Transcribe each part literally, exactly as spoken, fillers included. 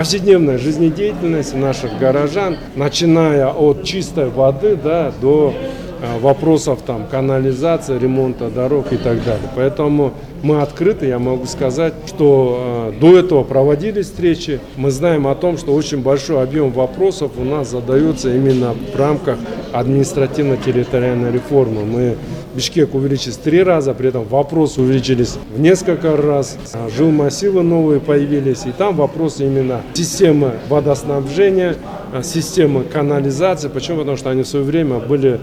Повседневная жизнедеятельность наших горожан, начиная от чистой воды, да, до вопросов там, канализации, ремонта дорог и так далее. Поэтому мы открыты, я могу сказать, что э, до этого проводились встречи. Мы знаем о том, что очень большой объем вопросов у нас задается именно в рамках административно-территориальной реформы. Мы Бишкек увеличились в три раза, при этом вопросы увеличились в несколько раз, жилмассивы новые появились, и там вопросы именно системы водоснабжения, системы канализации. Почему? Потому что они в свое время были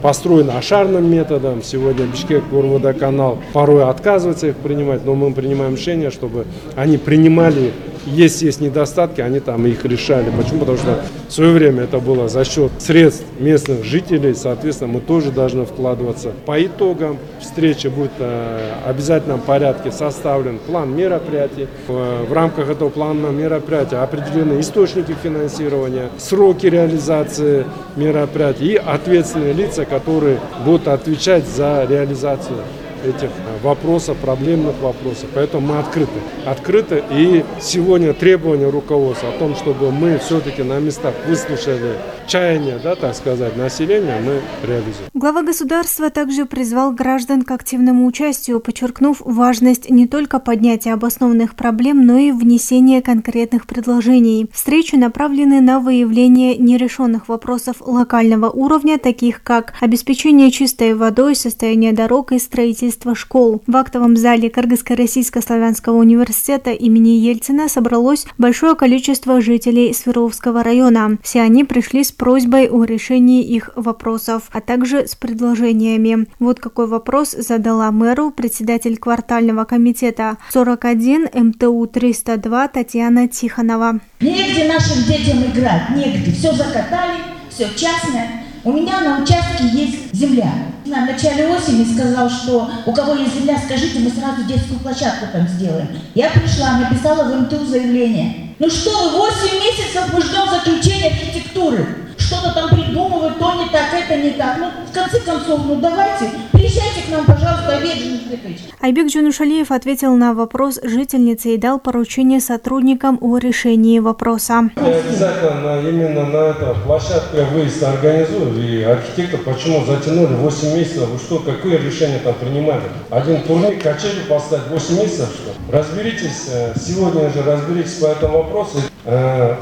построены ашарным методом. Сегодня Бишкек Горводоканал порой отказывается их принимать, но мы принимаем решение, чтобы они принимали. Если есть недостатки, они там их решали. Почему? Потому что в свое время это было за счет средств местных жителей, соответственно, мы тоже должны вкладываться. По итогам встречи будет в обязательном порядке составлен план мероприятий. В рамках этого плана мероприятия определены источники финансирования, сроки реализации мероприятий и ответственные лица, которые будут отвечать за реализацию этих вопросов, проблемных вопросов. Поэтому мы открыты. Открыты. И сегодня требования руководства о том, чтобы мы все-таки на местах выслушали чаяния, да, так сказать, населения, мы реализуем. Глава государства также призвал граждан к активному участию, подчеркнув важность не только поднятия обоснованных проблем, но и внесения конкретных предложений. Встречи направлены на выявление нерешенных вопросов локального уровня, таких как обеспечение чистой водой, состояние дорог и строительство школ. В актовом зале Кыргызско-Российско-Славянского университета имени Ельцина собралось большое количество жителей Свердловского района. Все они пришли с просьбой о решении их вопросов, а также с предложениями. Вот какой вопрос задала мэру председатель квартального комитета сорок один эм тэ у триста два Татьяна Тихонова. Негде нашим детям играть, негде. Все закатали, все частное. У меня на участке есть земля. В начале осени сказал, что у кого есть земля, скажите, мы сразу детскую площадку там сделаем. Я пришла, написала в эм тэ у заявление. Ну что вы, восемь месяцев мы ждем заключения архитектуры. Что-то там придумывают, то не так, это не так. Ну, в конце концов, ну давайте, приезжайте к нам, пожалуйста, Айбек Джунушалиевич. Айбек Джунушалиев ответил на вопрос жительницы и дал поручение сотрудникам о решении вопроса. Я обязательно именно на эту площадку я выезд организую. И архитектор, почему затянули восемь месяцев? Вы что, какое решение там принимали? Один турник, качели поставить восемь месяцев, что? Разберитесь, сегодня же разберитесь по этому вопросу.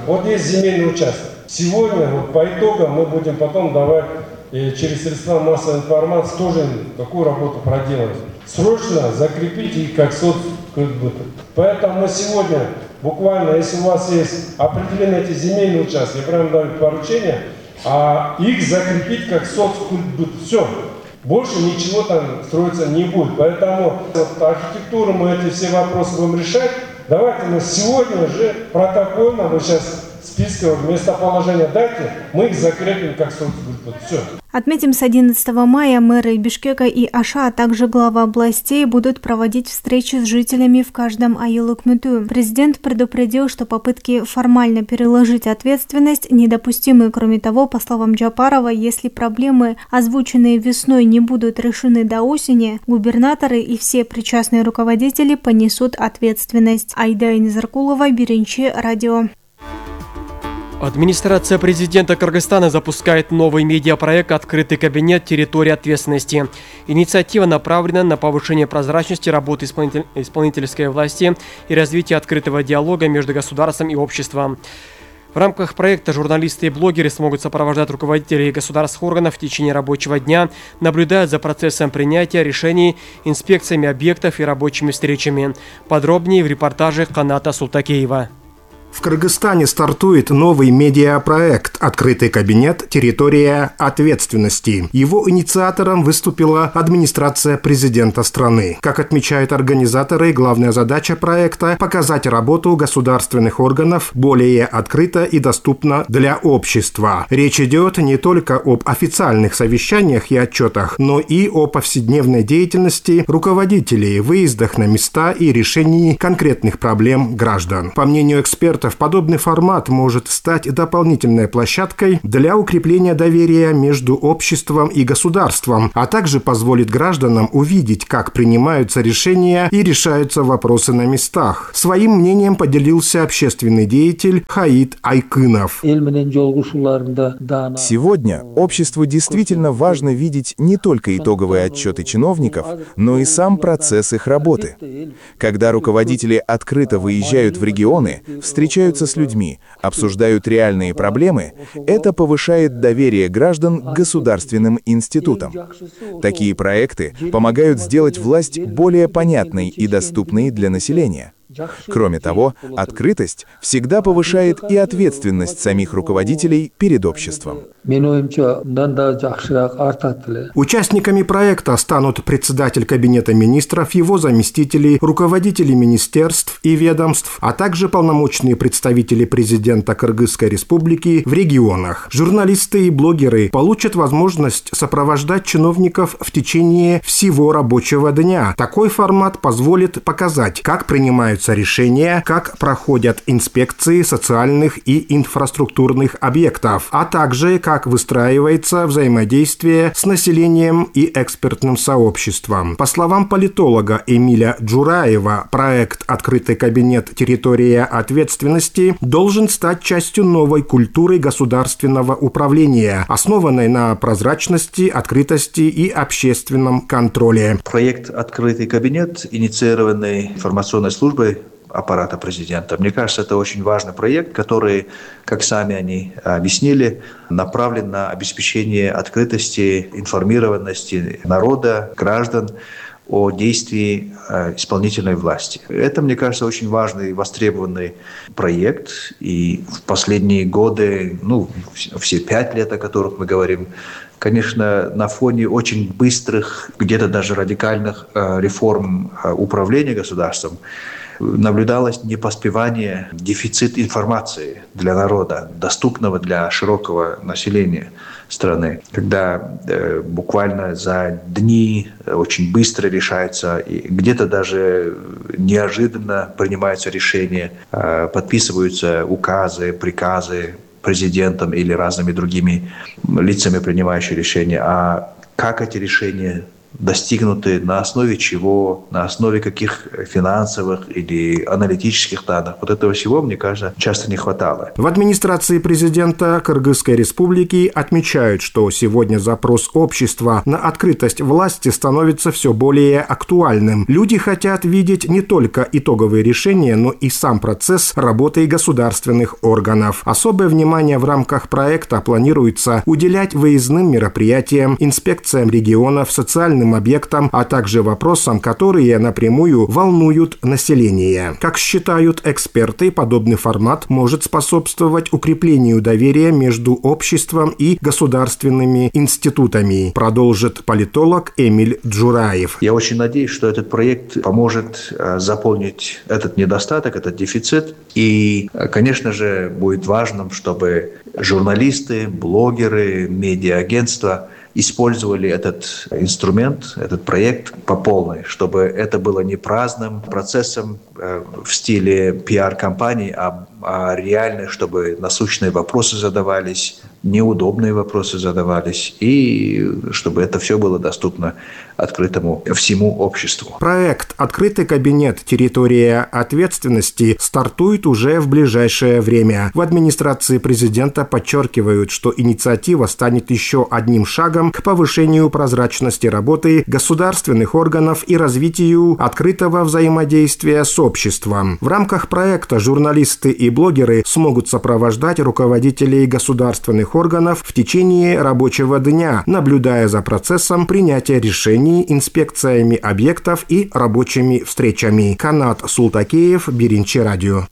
Вот есть земельный участок. Сегодня, вот по итогам, мы будем потом давать и через средства массовой информации тоже какую работу проделать. Срочно закрепить их как соцкультбыта. Поэтому мы сегодня, буквально, если у вас есть определенные эти земельные участки, я прям даю поручение, а их закрепить как соцкультбыт. Все. Больше ничего там строиться не будет. Поэтому вот, архитектуру мы эти все вопросы будем решать. Давайте мы сегодня же протокольно, вы сейчас списка местоположения дайте, мы их закрепим как соцкультбыт. Все. Отметим, с одиннадцатого мая мэры Бишкека и Аша, а также глава областей будут проводить встречи с жителями в каждом айыл өкмөтү. Президент предупредил, что попытки формально переложить ответственность недопустимы. Кроме того, по словам Джапарова, если проблемы, озвученные весной, не будут решены до осени, губернаторы и все причастные руководители понесут ответственность. Айда Инзаркулова, Биринчи, радио. Администрация президента Кыргызстана запускает новый медиапроект «Открытый кабинет. Территория ответственности». Инициатива направлена на повышение прозрачности работы исполнитель... исполнительской власти и развитие открытого диалога между государством и обществом. В рамках проекта журналисты и блогеры смогут сопровождать руководителей государственных органов в течение рабочего дня, наблюдая за процессом принятия решений, инспекциями объектов и рабочими встречами. Подробнее в репортаже Каната Султакеева. В Кыргызстане стартует новый медиапроект «Открытый кабинет. Территория ответственности». Его инициатором выступила администрация президента страны. Как отмечают организаторы, главная задача проекта – показать работу государственных органов более открыто и доступно для общества. Речь идет не только об официальных совещаниях и отчетах, но и о повседневной деятельности руководителей, выездах на места и решении конкретных проблем граждан. По мнению экспертов, экспертов, подобный формат может стать дополнительной площадкой для укрепления доверия между обществом и государством, а также позволит гражданам увидеть, как принимаются решения и решаются вопросы на местах. Своим мнением поделился общественный деятель Хаид Айкынов. Сегодня обществу действительно важно видеть не только итоговые отчеты чиновников, но и сам процесс их работы. Когда руководители открыто выезжают в регионы, встречаются с людьми, обсуждают реальные проблемы, это повышает доверие граждан к государственным институтам. Такие проекты помогают сделать власть более понятной и доступной для населения. Кроме того, открытость всегда повышает и ответственность самих руководителей перед обществом. Участниками проекта станут председатель Кабинета министров, его заместители, руководители министерств и ведомств, а также полномочные представители президента Кыргызской республики в регионах. Журналисты и блогеры получат возможность сопровождать чиновников в течение всего рабочего дня. Такой формат позволит показать, как принимаются решения, как проходят инспекции социальных и инфраструктурных объектов, а также как выстраивается взаимодействие с населением и экспертным сообществом. По словам политолога Эмиля Джураева, проект «Открытый кабинет. Территория ответственности» должен стать частью новой культуры государственного управления, основанной на прозрачности, открытости и общественном контроле. Проект «Открытый кабинет», инициированный информационной службой аппарата президента. Мне кажется, это очень важный проект, который, как сами они объяснили, направлен на обеспечение открытости, информированности народа, граждан о действии исполнительной власти. Это, мне кажется, очень важный, востребованный проект. И в последние годы, ну, все пять лет, о которых мы говорим, конечно, на фоне очень быстрых, где-то даже радикальных реформ управления государством, наблюдалось непоспевание, дефицит информации для народа, доступного для широкого населения страны, когда э, буквально за дни очень быстро решается, и где-то даже неожиданно принимаются решения, э, подписываются указы, приказы президентом или разными другими лицами, принимающими решения. А как эти решения достигнуты, на основе чего, на основе каких финансовых или аналитических данных. Вот этого всего, мне кажется, часто не хватало. В администрации президента Кыргызской республики отмечают, что сегодня запрос общества на открытость власти становится все более актуальным. Люди хотят видеть не только итоговые решения, но и сам процесс работы государственных органов. Особое внимание в рамках проекта планируется уделять выездным мероприятиям, инспекциям регионов, социальным объектам, а также вопросам, которые напрямую волнуют население. Как считают эксперты, подобный формат может способствовать укреплению доверия между обществом и государственными институтами, продолжит политолог Эмиль Джураев. Я очень надеюсь, что этот проект поможет заполнить этот недостаток, этот дефицит. И, конечно же, будет важным, чтобы журналисты, блогеры, медиаагентства использовали этот инструмент, этот проект по полной, чтобы это было не праздным процессом э, в стиле пиар-компании, а, а реально, чтобы насущные вопросы задавались, неудобные вопросы задавались, и чтобы это все было доступно открытому всему обществу. Проект «Открытый кабинет. Территория ответственности» стартует уже в ближайшее время. В администрации президента подчеркивают, что инициатива станет еще одним шагом к повышению прозрачности работы государственных органов и развитию открытого взаимодействия с обществом. В рамках проекта журналисты и блогеры смогут сопровождать руководителей государственных органов в течение рабочего дня, наблюдая за процессом принятия решений, инспекциями объектов и рабочими встречами. Канат Султакеев, Биринчи радио.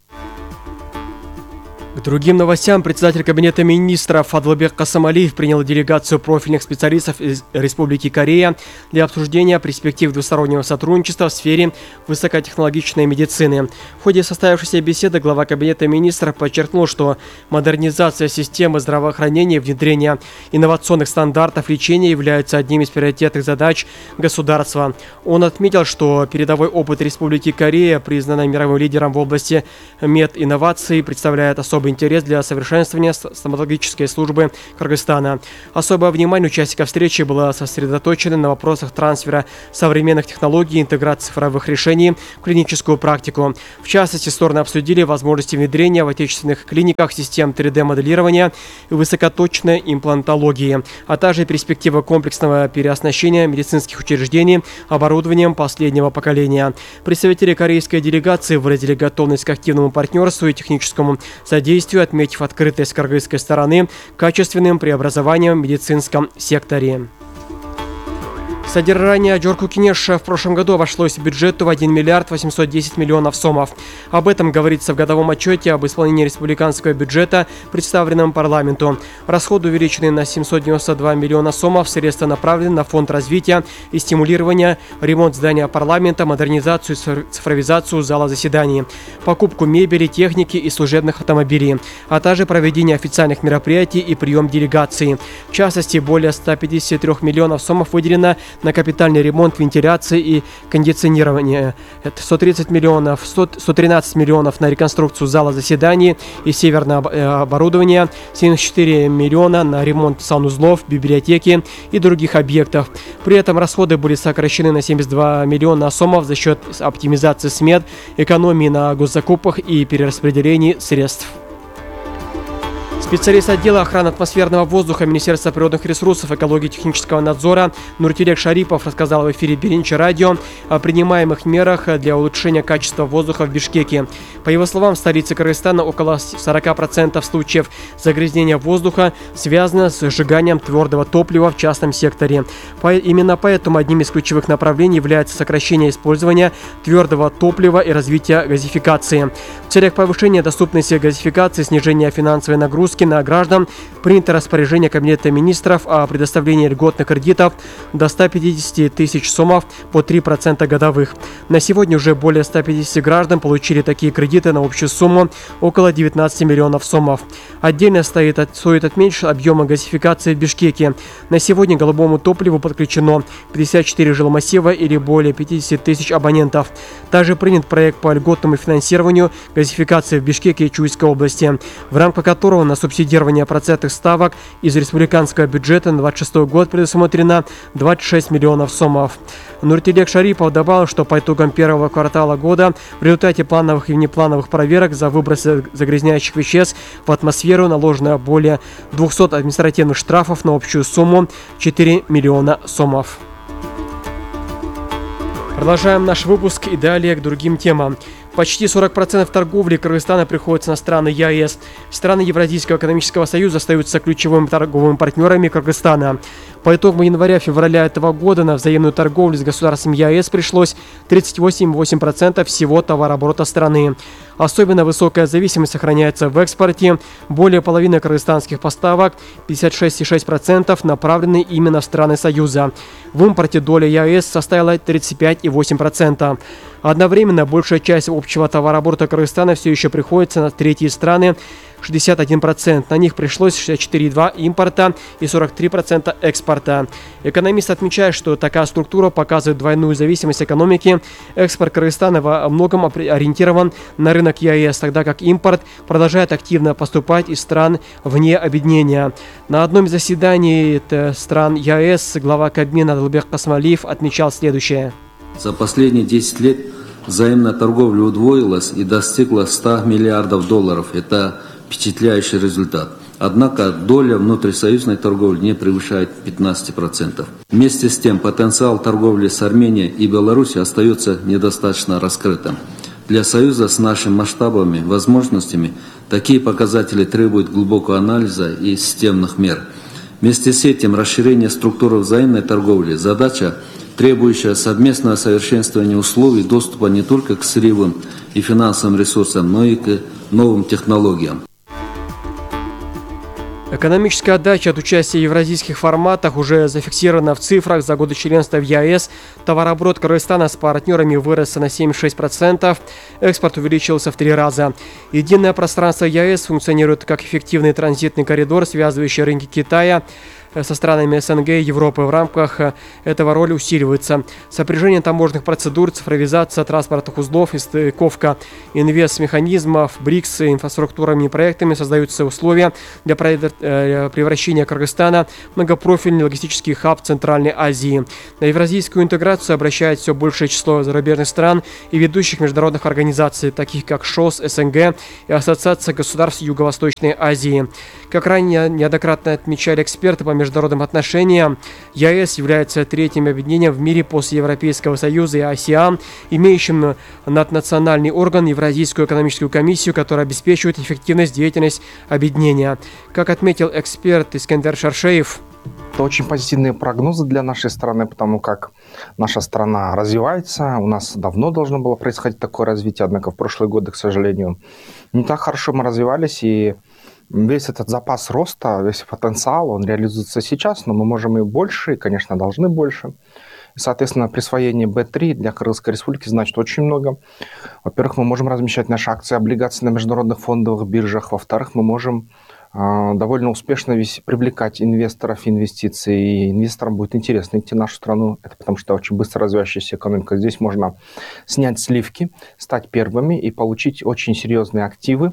К другим новостям председатель Кабинета министров Адылбек Касымалиев принял делегацию профильных специалистов из Республики Корея для обсуждения перспектив двустороннего сотрудничества в сфере высокотехнологичной медицины. В ходе состоявшейся беседы глава Кабинета министров подчеркнул, что модернизация системы здравоохранения и внедрение инновационных стандартов лечения являются одним из приоритетных задач государства. Он отметил, что передовой опыт Республики Корея, признанной мировым лидером в области мединноваций, представляет особый интерес для совершенствования стоматологической службы Кыргызстана. Особое внимание участников встречи было сосредоточено на вопросах трансфера современных технологий и интеграции цифровых решений в клиническую практику. В частности, стороны обсудили возможности внедрения в отечественных клиниках систем три дэ моделирования и высокоточной имплантологии, а также перспективы комплексного переоснащения медицинских учреждений оборудованием последнего поколения. Представители корейской делегации выразили готовность к активному партнерству и техническому содействию, отметив открытость кыргызской стороны качественным преобразованием в медицинском секторе. Содержание Джорку Кинеша в прошлом году обошлось бюджету в один миллиард восемьсот десять миллионов сомов. Об этом говорится в годовом отчете об исполнении республиканского бюджета, представленном парламенту. Расходы увеличены на семьсот девяносто два миллиона сомов, средства направлены на фонд развития и стимулирования, ремонт здания парламента, модернизацию и цифровизацию зала заседаний, покупку мебели, техники и служебных автомобилей, а также проведение официальных мероприятий и прием делегаций. В частности, более ста пятидесяти трёх миллионов сомов выделено на капитальный ремонт вентиляции и кондиционирования. Это сто тридцать миллионов, сто тринадцать миллионов на реконструкцию зала заседаний и северное оборудование, семьдесят четыре миллиона на ремонт санузлов, библиотеки и других объектов. При этом расходы были сокращены на семьдесят два миллиона сомов за счет оптимизации смет, экономии на госзакупках и перераспределении средств. Специалист отдела охраны атмосферного воздуха Министерства природных ресурсов, экологии и технического надзора Нуртилек Шарипов рассказал в эфире Биринчи радио о принимаемых мерах для улучшения качества воздуха в Бишкеке. По его словам, в столице Кыргызстана около сорока процентов случаев загрязнения воздуха связано с сжиганием твердого топлива в частном секторе. По, именно поэтому одним из ключевых направлений является сокращение использования твердого топлива и развитие газификации. В целях повышения доступности газификации, снижения финансовой нагрузки на граждан принято распоряжение Кабинета министров о предоставлении льготных кредитов до ста пятидесяти тысяч сомов по три процента годовых. На сегодня уже более ста пятидесяти граждан получили такие кредиты на общую сумму около девятнадцати миллионов сомов. Отдельно стоит, стоит отметить объемы газификации в Бишкеке. На сегодня к голубому топливу подключено пятьдесят четыре жилмассива или более пятидесяти тысяч абонентов. Также принят проект по льготному финансированию газификации в Бишкеке и Чуйской области, в рамках которого на субсидирование процентных ставок из республиканского бюджета на двадцать шестой год предусмотрено двадцать шесть миллионов сомов. Нуртилек Шарипов добавил, что по итогам первого квартала года в результате плановых и внеплановых проверок за выбросы загрязняющих веществ в атмосферу наложено более двухсот административных штрафов на общую сумму четыре миллиона сомов. Продолжаем наш выпуск и далее к другим темам. Почти сорок процентов торговли Кыргызстана приходится на страны ЕАЭС. Страны Евразийского экономического союза остаются ключевыми торговыми партнерами Кыргызстана. По итогам января-февраля этого года на взаимную торговлю с государством ЕАЭС пришлось тридцать восемь целых восемь десятых процента всего товарооборота страны. Особенно высокая зависимость сохраняется в экспорте. Более половины кыргызстанских поставок, пятьдесят шесть целых шесть десятых процента, направлены именно в страны Союза. В импорте доля ЕАЭС составила тридцать пять целых восемь десятых процента. Одновременно большая часть общего товарооборота Кыргызстана все еще приходится на третьи страны, шестьдесят один процент. На них пришлось шестьдесят четыре целых две десятых процента импорта и сорок три процента экспорта. Экономист отмечает, что такая структура показывает двойную зависимость экономики. Экспорт Кыргызстана во многом ориентирован на рынок ЕАЭС, тогда как импорт продолжает активно поступать из стран вне объединения. На одном из заседаний стран ЕАЭС глава Кабмина Адылбек Касымалиев отмечал следующее. За последние десять лет взаимная торговля удвоилась и достигла ста миллиардов долларов. Это впечатляющий результат. Однако доля внутрисоюзной торговли не превышает пятнадцати процентов. Вместе с тем потенциал торговли с Арменией и Беларусью остается недостаточно раскрытым. Для Союза с нашими масштабами, возможностями такие показатели требуют глубокого анализа и системных мер. Вместе с этим расширение структуры взаимной торговли – задача, требующая совместного совершенствования условий доступа не только к сырьевым и финансовым ресурсам, но и к новым технологиям. Экономическая отдача от участия в евразийских форматах уже зафиксирована в цифрах. За годы членства в ЕАЭС товарооборот Кыргызстана с партнерами вырос на семьдесят шесть процентов, экспорт увеличился в три раза. Единое пространство ЕАЭС функционирует как эффективный транзитный коридор, связывающий рынки Китая со странами СНГ и Европы. В рамках этого роль усиливается. Сопряжение таможенных процедур, цифровизация транспортных узлов и стыковка инвестмеханизмов, БРИКС и инфраструктурными проектами создаются условия для превращения Кыргызстана в многопрофильный логистический хаб Центральной Азии. На евразийскую интеграцию обращает все большее число зарубежных стран и ведущих международных организаций, таких как ШОС, СНГ и Ассоциация государств Юго-Восточной Азии. Как ранее неоднократно отмечали эксперты по международным отношениям, ЕАЭС является третьим объединением в мире после Европейского Союза и АСЕАН, имеющим наднациональный орган Евразийскую экономическую комиссию, которая обеспечивает эффективность деятельности объединения. Как отметил эксперт Искендер Шаршеев, это очень позитивные прогнозы для нашей страны, потому как наша страна развивается. У нас давно должно было происходить такое развитие, однако в прошлые годы, к сожалению, не так хорошо мы развивались, и весь этот запас роста, весь потенциал, он реализуется сейчас, но мы можем и больше, и, конечно, должны больше. И, соответственно, присвоение бэ три для Кыргызской республики значит очень много. Во-первых, мы можем размещать наши акции, облигации на международных фондовых биржах. Во-вторых, мы можем э, довольно успешно весь, привлекать инвесторов, инвестиций. И инвесторам будет интересно идти в нашу страну. Это потому что очень быстро развивающаяся экономика. Здесь можно снять сливки, стать первыми и получить очень серьезные активы.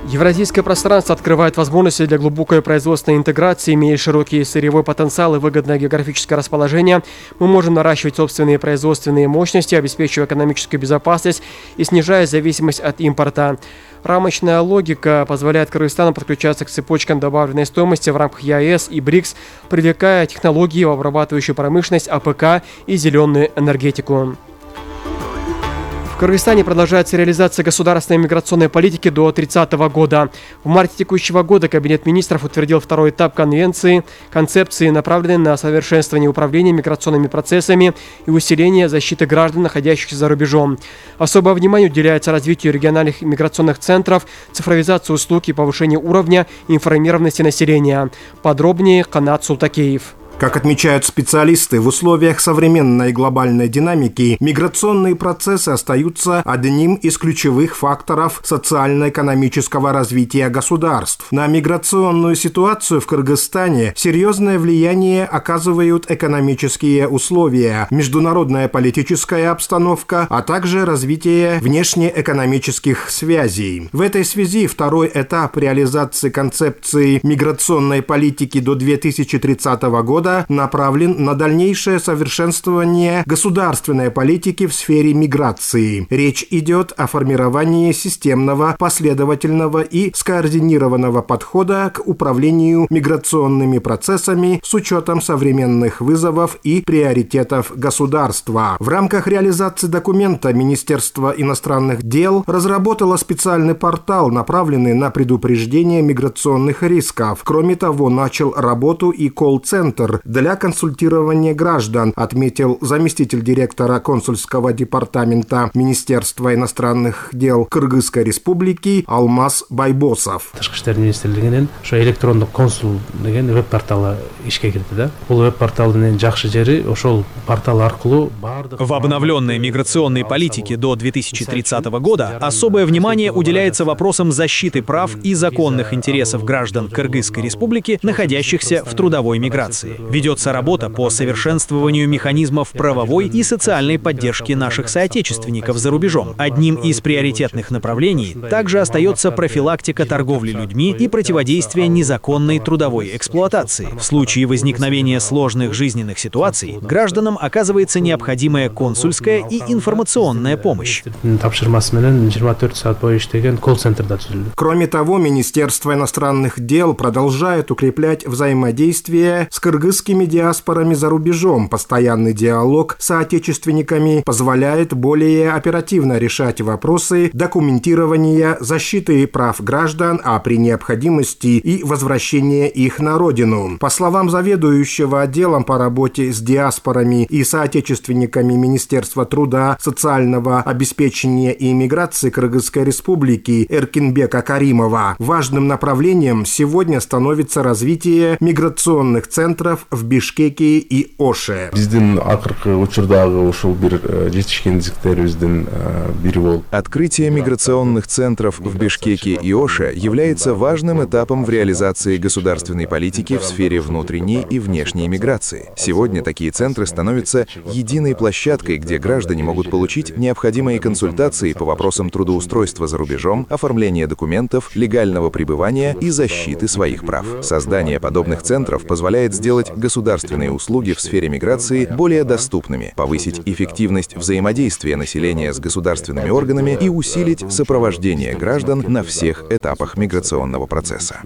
Евразийское пространство открывает возможности для глубокой производственной интеграции, имея широкий сырьевой потенциал и выгодное географическое расположение. Мы можем наращивать собственные производственные мощности, обеспечивая экономическую безопасность и снижая зависимость от импорта. Рамочная логика позволяет Кыргызстану подключаться к цепочкам добавленной стоимости в рамках ЕАЭС и БРИКС, привлекая технологии в обрабатывающую промышленность, АПК и зеленую энергетику. В Кыргызстане продолжается реализация государственной миграционной политики до тридцатого года. В марте текущего года Кабинет министров утвердил второй этап конвенции, концепции, направленной на совершенствование управления миграционными процессами и усиление защиты граждан, находящихся за рубежом. Особое внимание уделяется развитию региональных миграционных центров, цифровизации услуг и повышению уровня информированности населения. Подробнее Канат Султакеев. Как отмечают специалисты, в условиях современной глобальной динамики миграционные процессы остаются одним из ключевых факторов социально-экономического развития государств. На миграционную ситуацию в Кыргызстане серьезное влияние оказывают экономические условия, международная политическая обстановка, а также развитие внешнеэкономических связей. В этой связи второй этап реализации концепции миграционной политики до две тысячи тридцатого года направлен на дальнейшее совершенствование государственной политики в сфере миграции. Речь идет о формировании системного, последовательного и скоординированного подхода к управлению миграционными процессами с учетом современных вызовов и приоритетов государства. В рамках реализации документа Министерство иностранных дел разработало специальный портал, направленный на предупреждение миграционных рисков. Кроме того, начал работу и колл-центр для консультирования граждан, отметил заместитель директора консульского департамента Министерства иностранных дел Кыргызской республики Алмаз Байбосов. Тышкы иштер министрлигинин ошо электрондук консул деген веб-порталы ишке кирди да. Бул веб-порталдын жакшы жери ошол портал аркылуу бардык. В обновленной миграционной политике до две тысячи тридцатого года особое внимание уделяется вопросам защиты прав и законных интересов граждан Кыргызской республики, находящихся в трудовой миграции. Ведется работа по совершенствованию механизмов правовой и социальной поддержки наших соотечественников за рубежом. Одним из приоритетных направлений также остается профилактика торговли людьми и противодействие незаконной трудовой эксплуатации. В случае возникновения сложных жизненных ситуаций гражданам оказывается необходимая консульская и информационная помощь. Кроме того, Министерство иностранных дел продолжает укреплять взаимодействие с Кыргызской кыргызскими диаспорами за рубежом. Постоянный диалог с соотечественниками позволяет более оперативно решать вопросы документирования, защиты прав граждан, а при необходимости и возвращения их на родину. По словам заведующего отделом по работе с диаспорами и соотечественниками Министерства труда, социального обеспечения и иммиграции Кыргызской Республики Эркинбека Каримова, важным направлением сегодня становится развитие миграционных центров в Бишкеке и Оше. Открытие миграционных центров в Бишкеке и Оше является важным этапом в реализации государственной политики в сфере внутренней и внешней миграции. Сегодня такие центры становятся единой площадкой, где граждане могут получить необходимые консультации по вопросам трудоустройства за рубежом, оформления документов, легального пребывания и защиты своих прав. Создание подобных центров позволяет сделать государственные услуги в сфере миграции более доступными, повысить эффективность взаимодействия населения с государственными органами и усилить сопровождение граждан на всех этапах миграционного процесса.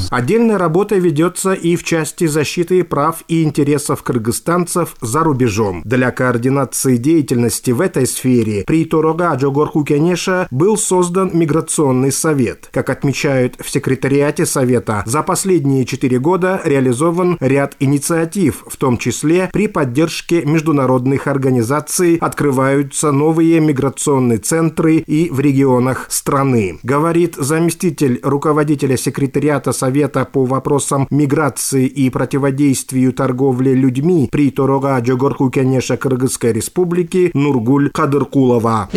Отдельная работа ведется и в части защиты прав и интересов кыргызстанцев за рубежом. Для координации деятельности в этой сфере при Торога Джогорку Кенеша был создан Миграционный совет. Как отмечают в секретариате Совета, за последние четыре года реализован ряд инициатив, в том числе при поддержке международных организаций открываются новые миграционные центры и в регионах страны. Говорит заместитель руководителя секретариата Совета по вопросам миграции и противодействию торговле людьми при Торога Джогорку Кенеша Кыргызской Республики Нургуль Кадыркулова.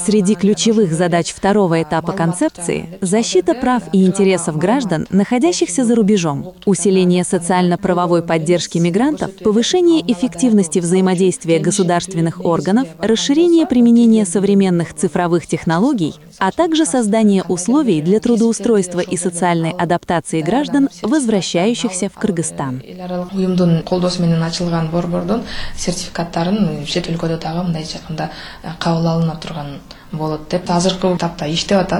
Среди ключевых задач второго этапа концепции – защита прав и интересов граждан, находящихся за рубежом, усиление социально-правовой поддержки мигрантов, повышение эффективности взаимодействия государственных органов, расширение применения современных цифровых технологий, а также создание условий для трудоустройства и социальной адаптации граждан, возвращающихся в Кыргызстан.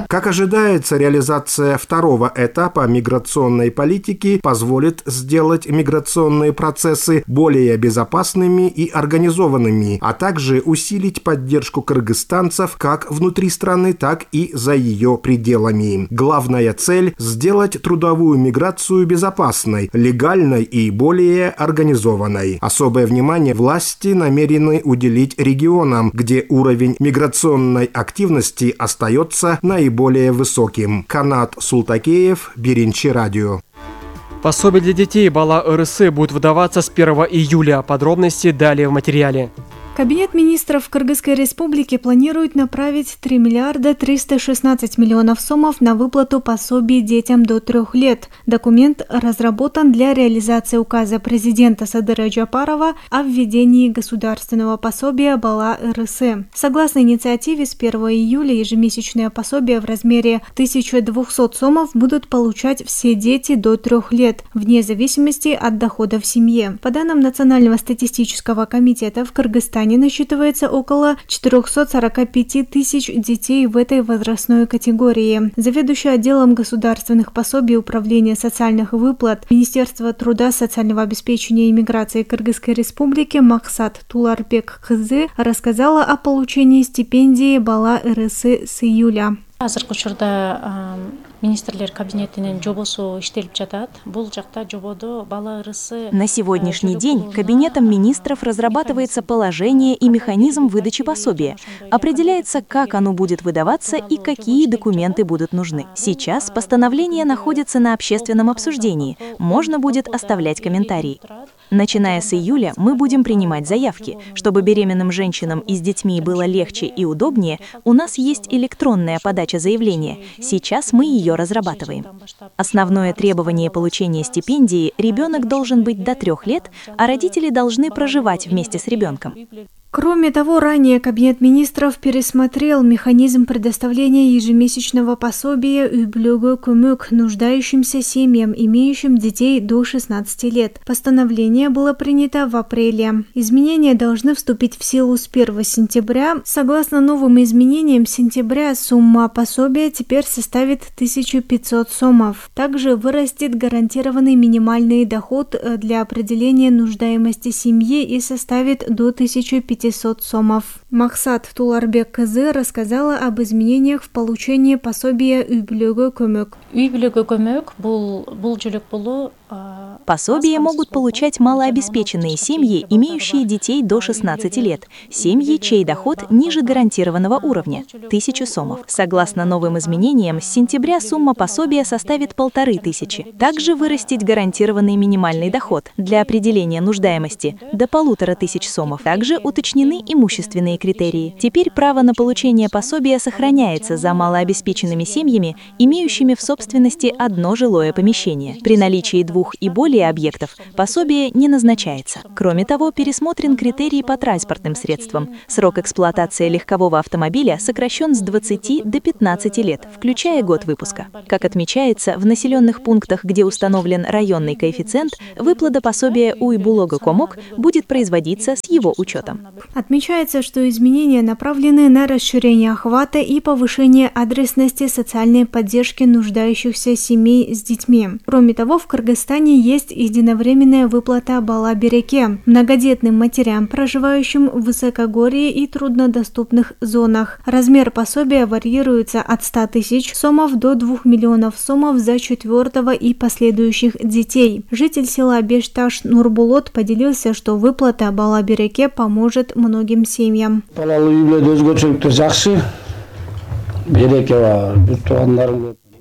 Как ожидается, реализация второго этапа миграционной политики позволит сделать миграционные процессы более безопасными и организованными, а также усилить поддержку кыргызстанцев как внутри страны, так и за ее пределами. Главная цель – сделать трудовую миграцию безопасной, легальной и более организованной. Особое внимание власти намерены уделить регионам, где уровень миграционной активности остается наиболее высоким. Канат Султакеев, Биринчи радио. Пособие для детей Бала РС будет выдаваться с первого июля. Подробности далее в материале. Кабинет министров Кыргызской Республики планирует направить три миллиарда триста шестнадцать миллионов сомов на выплату пособий детям до трех лет. Документ разработан для реализации указа президента Садыра Джапарова о введении государственного пособия Бала РС. Согласно инициативе, с первого июля ежемесячное пособие в размере тысяча двести сомов будут получать все дети до трех лет, вне зависимости от дохода в семье. По данным Национального статистического комитета, в Кыргызстане насчитывается около четырёхсот сорока пяти тысяч детей в этой возрастной категории. Заведующий отделом государственных пособий Управления социальных выплат Министерства труда, социального обеспечения и миграции Кыргызской Республики Максат Туларбек Кызы рассказала о получении стипендии Бала РС с июля. Азыркы учурда министрлер кабинетинин жобосу иштелип жатат. Бул жакта жободо Бала РС. На сегодняшний день Кабинетом министров разрабатывается положение и механизм выдачи пособия. Определяется, как оно будет выдаваться и какие документы будут нужны. Сейчас постановление находится на общественном обсуждении. Можно будет оставлять комментарии. Начиная с июля мы будем принимать заявки. Чтобы беременным женщинам и с детьми было легче и удобнее, у нас есть электронная подача заявления. Сейчас мы ее разрабатываем. Основное требование получения стипендии – ребенок должен быть до трех лет, а родители должны проживать вместе с ребенком. Кроме того, ранее Кабинет министров пересмотрел механизм предоставления ежемесячного пособия үй-бүлөгө көмөк нуждающимся семьям, имеющим детей до шестнадцати лет. Постановление было принято в апреле. Изменения должны вступить в силу с первого сентября. Согласно новым изменениям, с сентября сумма пособия теперь составит тысячу пятьсот сомов. Также вырастет гарантированный минимальный доход для определения нуждаемости семьи и составит до тысячи пятисот сомов. Максат Туларбек кызы рассказала об изменениях в получении пособия үй-бүлөгө көмөк. Үй-бүлөгө көмөк бул бул жөлөк болуу. Пособие могут получать малообеспеченные семьи, имеющие детей до шестнадцати лет, семьи, чей доход ниже гарантированного уровня – тысячу сомов. Согласно новым изменениям, с сентября сумма пособия составит полторы тысячи. Также вырастет гарантированный минимальный доход для определения нуждаемости – до полутора тысяч сомов. Также уточнены имущественные критерии. Теперь право на получение пособия сохраняется за малообеспеченными семьями, имеющими в собственности одно жилое помещение. При наличии двух и более объектов пособие не назначается. Кроме того, пересмотрен критерий по транспортным средствам. Срок эксплуатации легкового автомобиля сокращен с двадцати до пятнадцати лет, включая год выпуска. Как отмечается, в населенных пунктах, где установлен районный коэффициент, выплата пособия үй-бүлөгө көмөк будет производиться с его учетом. Отмечается, что изменения направлены на расширение охвата и повышение адресности социальной поддержки нуждающихся семей с детьми. Кроме того, в Кыргызстане есть единовременная выплата бала-береке многодетным матерям, проживающим в высокогорье и труднодоступных зонах. Размер пособия варьируется от ста тысяч сомов до двух миллионов сомов за четвертого и последующих детей. Житель села Бешташ Нурбулот поделился, что выплата бала-береке поможет многим семьям.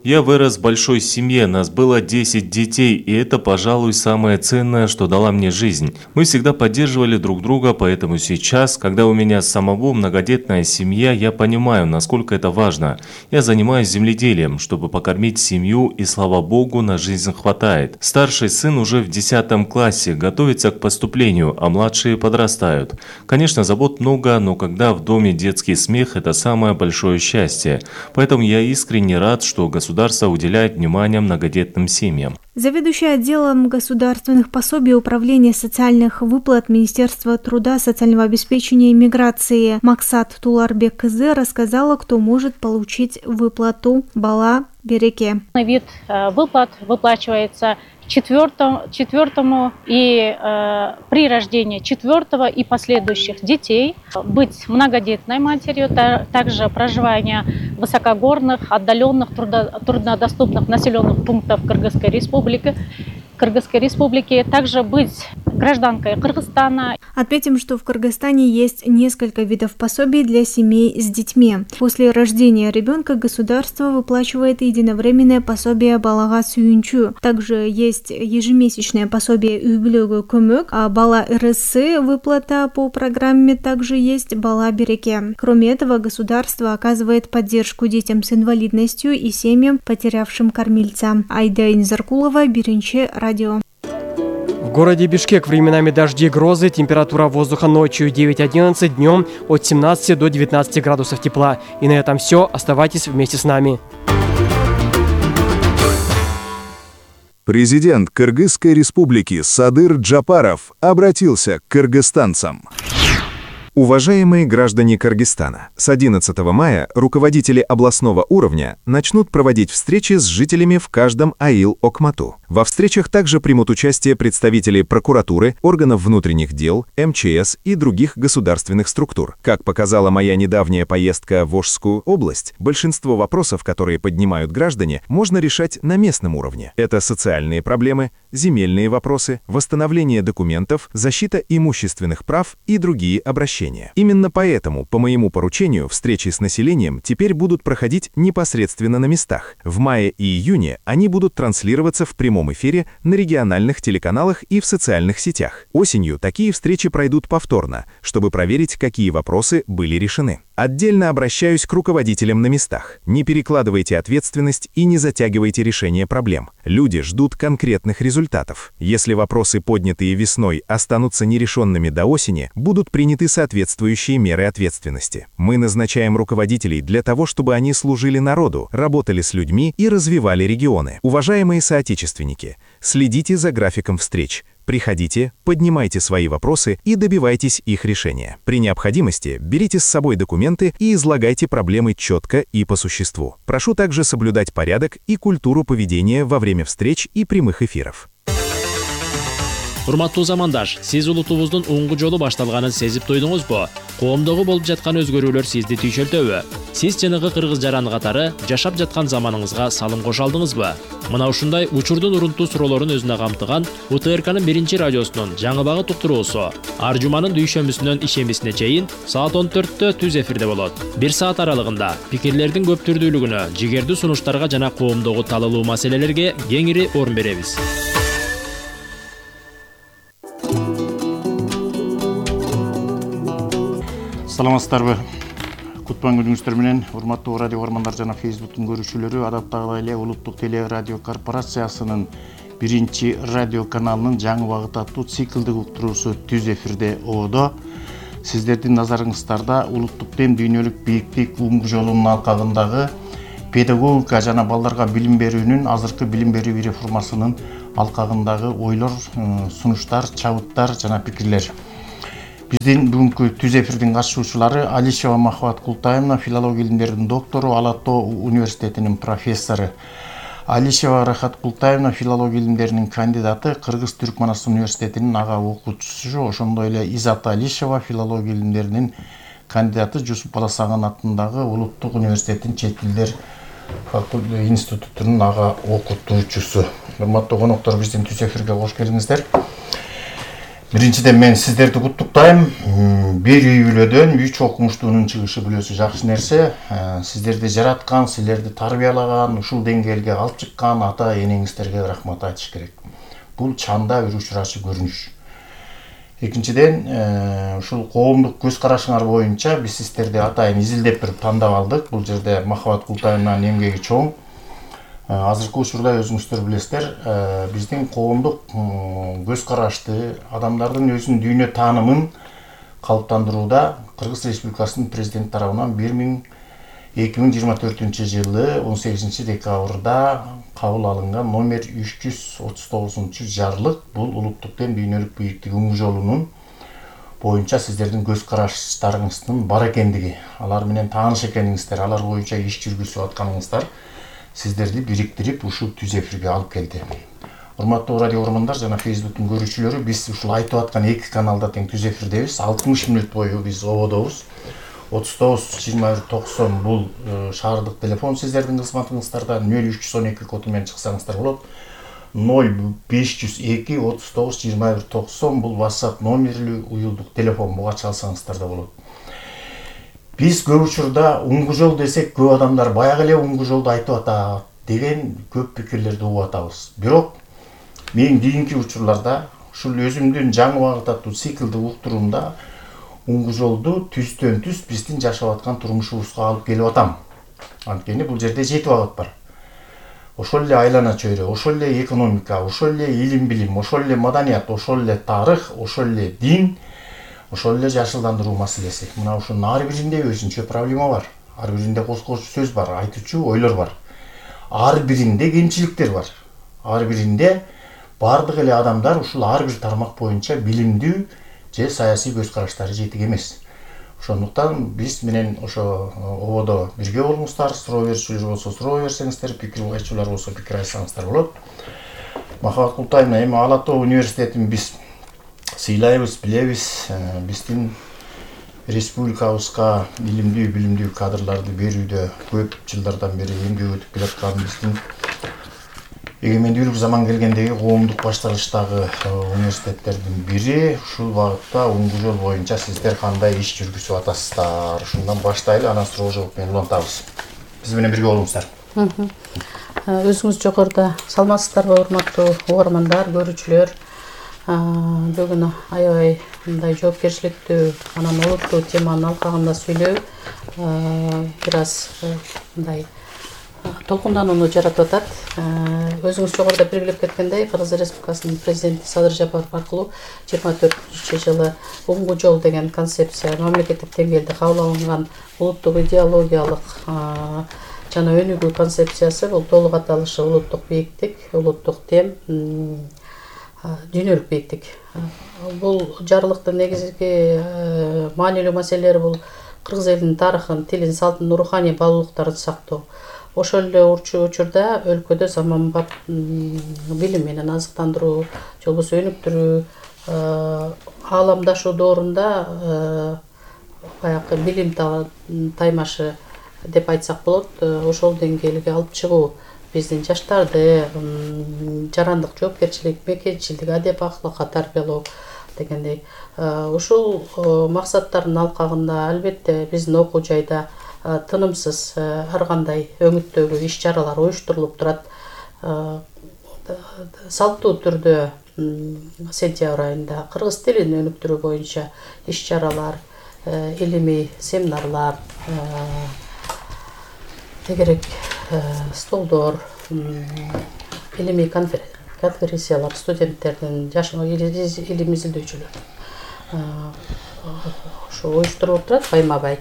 Я вырос в большой семье, нас было десять детей, и это, пожалуй, самое ценное, что дала мне жизнь. Мы всегда поддерживали друг друга, поэтому сейчас, когда у меня самого многодетная семья, я понимаю, насколько это важно. Я занимаюсь земледелием, чтобы покормить семью, и, слава богу, на жизнь хватает. Старший сын уже в десятом классе, готовится к поступлению, а младшие подрастают. Конечно, забот много, но когда в доме детский смех, это самое большое счастье. Поэтому я искренне рад, что государство Государство уделяет внимание многодетным семьям. Заведующий отделом государственных пособий Управления социальных выплат Министерства труда, социального обеспечения и миграции Максат Туларбек кызы рассказала, кто может получить выплату бала-береке. Вид выплат выплачивается четвертому, четвертому и э, при рождении четвертого и последующих детей, быть многодетной матерью, та, также проживание в высокогорных, отдаленных, трудо, труднодоступных населенных пунктах Кыргызской республики, Кыргызской республики, также быть гражданкой Кыргызстана. Отметим, что в Кыргызстане есть несколько видов пособий для семей с детьми. После рождения ребенка государство выплачивает единовременное пособие балага сүйүнчү. Также есть ежемесячное пособие үй-бүлөгө көмөк, а бала РС выплата по программе также есть бала-береке. Кроме этого, государство оказывает поддержку детям с инвалидностью и семьям, потерявшим кормильца. Айда Инзаркулова, Биринчи, радио. В городе Бишкек временами дожди и грозы, температура воздуха ночью девять-одиннадцать, днем от семнадцати до девятнадцати градусов тепла. И на этом все. Оставайтесь вместе с нами. Президент Кыргызской республики Садыр Джапаров обратился к кыргызстанцам. Уважаемые граждане Кыргызстана, с одиннадцатого мая руководители областного уровня начнут проводить встречи с жителями в каждом аил Окмату. Во встречах также примут участие представители прокуратуры, органов внутренних дел, эм че эс и других государственных структур. Как показала моя недавняя поездка в Ошскую область, большинство вопросов, которые поднимают граждане, можно решать на местном уровне. Это социальные проблемы, земельные вопросы, восстановление документов, защита имущественных прав и другие обращения. Именно поэтому, по моему поручению, встречи с населением теперь будут проходить непосредственно на местах. В мае и июне они будут транслироваться в прямом эфире на региональных телеканалах и в социальных сетях. Осенью такие встречи пройдут повторно, чтобы проверить, какие вопросы были решены. Отдельно обращаюсь к руководителям на местах. Не перекладывайте ответственность и не затягивайте решение проблем. Люди ждут конкретных результатов. результатов. Если вопросы, поднятые весной, останутся нерешенными до осени, будут приняты соответствующие меры ответственности. Мы назначаем руководителей для того, чтобы они служили народу, работали с людьми и развивали регионы. Уважаемые соотечественники, следите за графиком встреч. Приходите, поднимайте свои вопросы и добивайтесь их решения. При необходимости берите с собой документы и излагайте проблемы четко и по существу. Прошу также соблюдать порядок и культуру поведения во время встреч и прямых эфиров. Урматтуу замандаш, сиз улутубуздун оңгу жолу башталганын сезип тойдуңузбу? Коомдогу болуп жаткан өзгөрүүлөр сизди түйшөлтөбү? Сиз жанагы кыргыз жараны катары жашап жаткан заманыңызга салым кошо алдыңызбы? Мына ушундай учурдун урунтуу суроолорун өзүнө камтыган У Т Р К'нын биринчи радиосунун жаңы багыт уктуруусу ар жуманын дүйшөмбүсүнөн ишембисине чейин саат он төрттө түз эфирде болот. Бир саат аралыгында пикирлердин көп түрдүүлүгүнө, жигердүү сунуштарга жана коомдогу талалуу маселелерге кеңири орун беребиз. Саламатсыздарбы? Кутман күнүңүздөр менен, урматтуу радио көрөрмандар жана Фейсбуктун көрүүчүлөрү, адаттагыдай эле Улуттук теле радио корпорациясынын биринчи радио каналынын жаңы багыт аттуу циклдик уктуруусу түз эфирде ободо. Сиздердин назарыңыздарда улуттук дем дүйнөлүк бийиктик уңгу жолунун алкагындагы педагогика жана балдарга билим берүүнүн азыркы билим берүү реформасынын алкагындагы ойлор, сунуштар, чабыттар жана пикирлер. Биздин бүгүнкү түз эфирдин катышуучулары Алишева Махабат Култаевна, филология илимдеринин доктору, Ала Тоо университетинин профессору. Алишева Рахат Култаевна, филология илимдеринин кандидаты, Кыргыз-Түркманстан университетинин ага окуучусу, ошондой эле Изат Алишева, филология илимдеринин кандидаты, Жусуп Баласаган атындагы Улуттук университеттин чет тилдер институтунун ага окутуучусу. Урматтуу коноктор, биздин түз эфирге кош келиңиздер. Биринчиден мен сиздерди куттуктайм. Бир үй бүлөдөн үч окумуштуунун чыгышы бүлөсү жакшы нерсе. Сиздерди жараткан, силерди тарбиялаган, ушул деңгээлге алып чыккан ата энеңиздерге рахмат айтыш керек. Бул чанда бир учурачы көрүнүш. Экинчиден, ушул коомдук көз карашыңар боюнча биз сиздерди атайын изилдеп туруп тандап алдык. Бул жерде Махабат Култаевнанын эмгеги чоң. Азыркы учурда өзүңүздөр билесиздер, биздин коомдук көз карашты, адамдардын өзүнүн дүйнө таанымын калыптандырууда Кыргыз Республикасынын президенти тарабынан эки миң жыйырма төртүнчү жылы он сегизинчи декабрда кабыл алынган номер үч жүз отуз тогузунчу жарлык, бул улуттук дем дүйнөлүк бийиктик уңгу жолунун боюнча сиздердин көз караштарыңыздын бар экендиги, алар менен тааныш экениңиздер, алар боюнча иш жүргүзүп атканыңыздар сиздерди бириктирип ушул түз эфирге алып келди. Урматтуу радио көрөрмандар жана Фейсбуктун көрүүчүлөрү, биз ушул айтып аткан эки каналда тең түз эфирдебиз. алтымыш мүнөт бою биз ободобуз. отуз тогуз жыйырма бир токсон бул шаардык телефон сиздердин кызматыңыздарда, нөл үч жүз он эки коду менен чыксаңыздар болот. нөл беш жүз эки отуз тогуз жыйырма бир токсон бул WhatsApp номерлүү уюлдук телефон, буга чалсаңыздар да болот. Биз көп учурда уңгу жол десек, көп адамдар баягы эле уңгу жолду айтып атат деген көп пикирлерди угуп атабыз. Бирок мен кийинки учурларда ушул өзүмдүн жаңы багыт аттуу циклдик уктуруумда уңгу жолду түздөн түз биздин жашап аткан турмушубузга алып келип атам. Анткени бул жерде жети багыт бар. Ошол эле айлана чөйрө, ошол эле экономика, ошол эле илим билим, ошол эле маданият, ошол эле тарых, ошол эле дин, ошол эле жашылдандыруу маселеси. Мына ушунун ар биринде өзүнчө проблема бар. Ар биринде коскоочу сөз бар, айтуучу ойлор бар. Ар биринде кемчиликтер бар. Ар биринде бардык эле адамдар ушул ар бир тармак боюнча билимдүү же саясий көз караштары жетик эмес. Ошондуктан биз менен ошо ободо бирге болуңуздар, суроо берүүчүлөр болсо суроо берсеңиздер, пикир айтчулар болсо пикир айтсаңыздар болот. Махабат Култаевна, эми Ала Тоо университетин биз сыйлайбыз, билебиз. Биздин республикабызга илимдүү, билимдүү кадрларды берүүдө көп жылдардан бери эмгек өтүп келаткан биздин эгемендүүлүк заман келгендеги коомдук башталыштагы университеттердин бири. Ушул багытта уңгу жол боюнча сиздер кандай иш жүргүзүп атасыздар? Ушундан баштайлы, анан суроо жооп менен улантабыз. Биз менен бирге болуңуздар. Өзүңүз жогоруда саламатсыздарбы, урматтуу угармандар, көрүүчүлөр? Бүгүн аябай мындай жоопкерчиликтүү, анан олуттуу теманын алкагында сүйлөө бир аз мындай толкунданууну жаратып атат. Өзүңүз жогоруда белгилеп кеткендей, Кыргыз Республикасынын президенти Садыр Жапаров аркылуу жыйырма төртүнчү жылы Уңгу жол деген концепция мамлекеттик деңгээлде кабыл алынган улуттук идеологиялык жана өнүгүү концепциясы. Бул толук аталышы улуттук бийиктик, улуттук тем, дүйнөлүк бийиктик. Бул жарлыктын негизги маанилүү маселелери бул кыргыз элинин тарыхын, тилин, салтын, руханий баалуулуктарын сактоо. Ошол эле учурда өлкөдө заманбап билим менен азыктандыруу, же болбосо өнүктүрүү, ааламдашуу доорунда баягы билим таймашы деп айтсак болот, ошол деңгээлге алып чыгуу, биздин жаштарды жарандык жоопкерчилик, мекенчилдик, адеп акылыкка тарбиялоо дегендей. Ушул максаттардын алкагында албетте биздин окуу жайда тынымсыз ар кандай өңүттөгү иш-чаралар уюштурулуп турат. Салттуу түрдө сентябрь айында кыргыз тилин өнүктүрүү боюнча иш-чаралар, илимий семинарлар, тегерек столдор, илимий конференциялар, студенттердин, жаш илим изилдөөчүлөр ошо уюштурулуп турат байма-бай.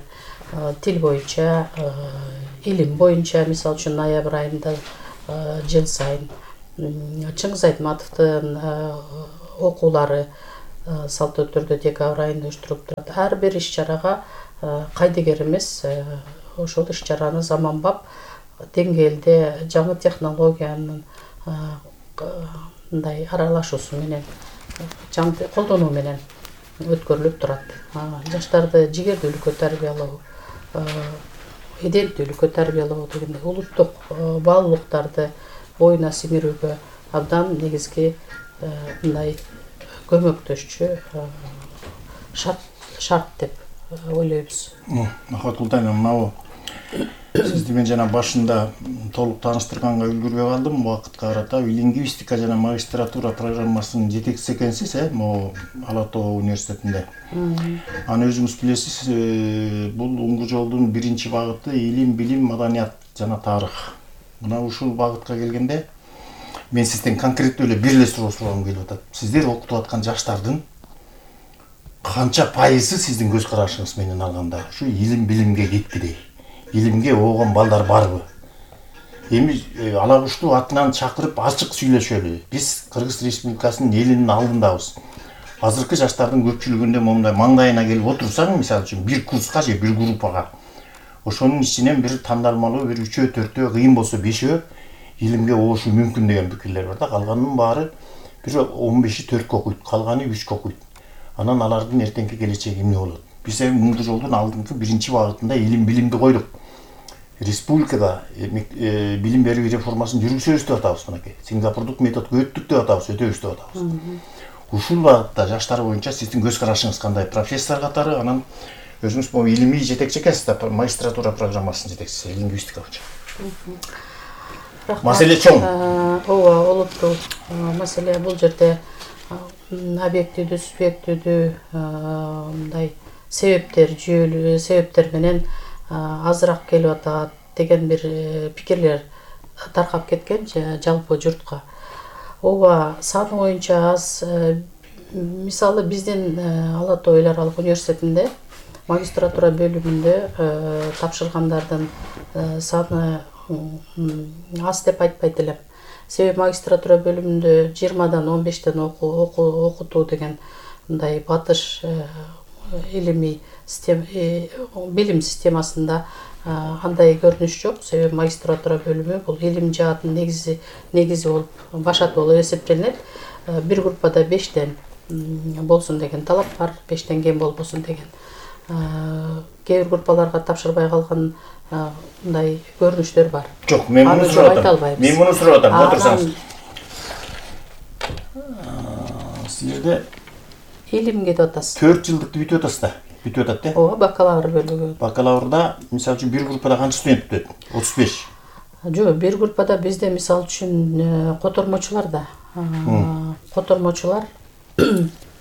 Тил боюнча, илим боюнча, мисалы үчүн ноябрь айында жыл сайын Чыңгыз Айтматовдун окуулары салттуу түрдө декабрь айында уюштурулуп турат. Ар бир иш-чарага кайдыгер эмес, ошол иш-чараны заманбап деңгээлде жаңы технологиянын мындай аралашуусу менен, жаңы колдонуу менен өткөрүлүп турат. Жаштарды жигердүүлүккө тарбиялоо, иденттүүлүккө тарбиялоо дегендей улуттук баалуулуктарды боюна сиңирүүгө абдан негизги мындай көмөктөшчү шарт деп ойлойбуз. Ахмат Култайна, мынабу сизди мен жана башында толук тааныштырганга үлгүрбөй калдым. Убакытка карата лингвистика жана магистратура программасынын жетекчиси экенсиз, э, могу Ала Тоо университетинде. Аны өзүңүз билесиз, бул Уңгу жолдун биринчи багыты илим, билим, маданият жана тарых. Мына ушул багытка келгенде мен сизден конкреттүү эле бир эле суроо сурагым келип атат. Сиздер окутуп аткан жаштардын канча пайызы сиздин көз карашыңыз менен алганда ушу илим, билимге кеткидей? Илимге оогон балдар барбы? Эми ала кушту атынан чакырып ачык сүйлөшөлү. Биз Кыргыз Республикасынын элинин алдындабыз. Азыркы жаштардын көпчүлүгүндө момундай маңдайына келип отурсаң, мисалы үчүн бир курска же бир группага, ошонун ичинен бир тандалмалуу бир үчөө, төртөө, кыйын болсо бешөө илимге оошу мүмкүн деген пикирлер бар да. Калганынын баары бир он беши төрткө окуйт, калганы үчкө окуйт. Анан алардын эртеңки келечеги эмне болот? Биз эми Уңгу жолдун алдыңкы биринчи багытында илим, билимди койдук. Республикада билим берүү реформасын жүргүзөбүз деп атабыз мынакей. Сингапурдук методго өттүк деп атабыз, өтөбүз деп атабыз. Ушул багытта жаштар боюнча сиздин көз карашыңыз кандай? Профессор катары, анан өзүңүз бул илимий жетекчи экенсиз да, магистратура программасынын жетекчиси, лингвистика боюнча. Маселе чоң. Ооба, олуттуу маселе. Бул жерде объективдүү, субъективдүү мындай себептер, жүйөлүү себептер менен азыраак келип атат деген бир пикирлер таркап кеткен жалпы журтка. Ооба, саны боюнча аз. Мисалы биздин Ала Тоо эл аралык университетинде магистратура бөлүмүндө тапшыргандардын саны аз деп айтпайт элем. Себеби магистратура бөлүмүндө жыйырмадан он бештен окутуу деген мындай батыш илимий билим системасында андай көрүнүш жок. Себеби магистратура бөлүмү бул илим жаатын негизи негизи болуп, башаты болуп эсептелинет. Бир группада бештен болсун деген талап бар, бештен кем болбосун деген. Кээ бир группаларга тапшырбай калган мындай көрүнүштөр бар. Жок, мен муну сурап атам. Мен муну сурап атам, отурсаңыз. Силерде илимге деп атасыз. төрт жылдыкты бүтүп атасыз да? Бүтүп атат да? Ооба, бакалавр бөлүгү. Бакалаврда, мисалы үчүн, бир группада канча студент бүтөт? отуз беш. Жок, бир группада бизде мисалы үчүн котормочулар да. Котормочулар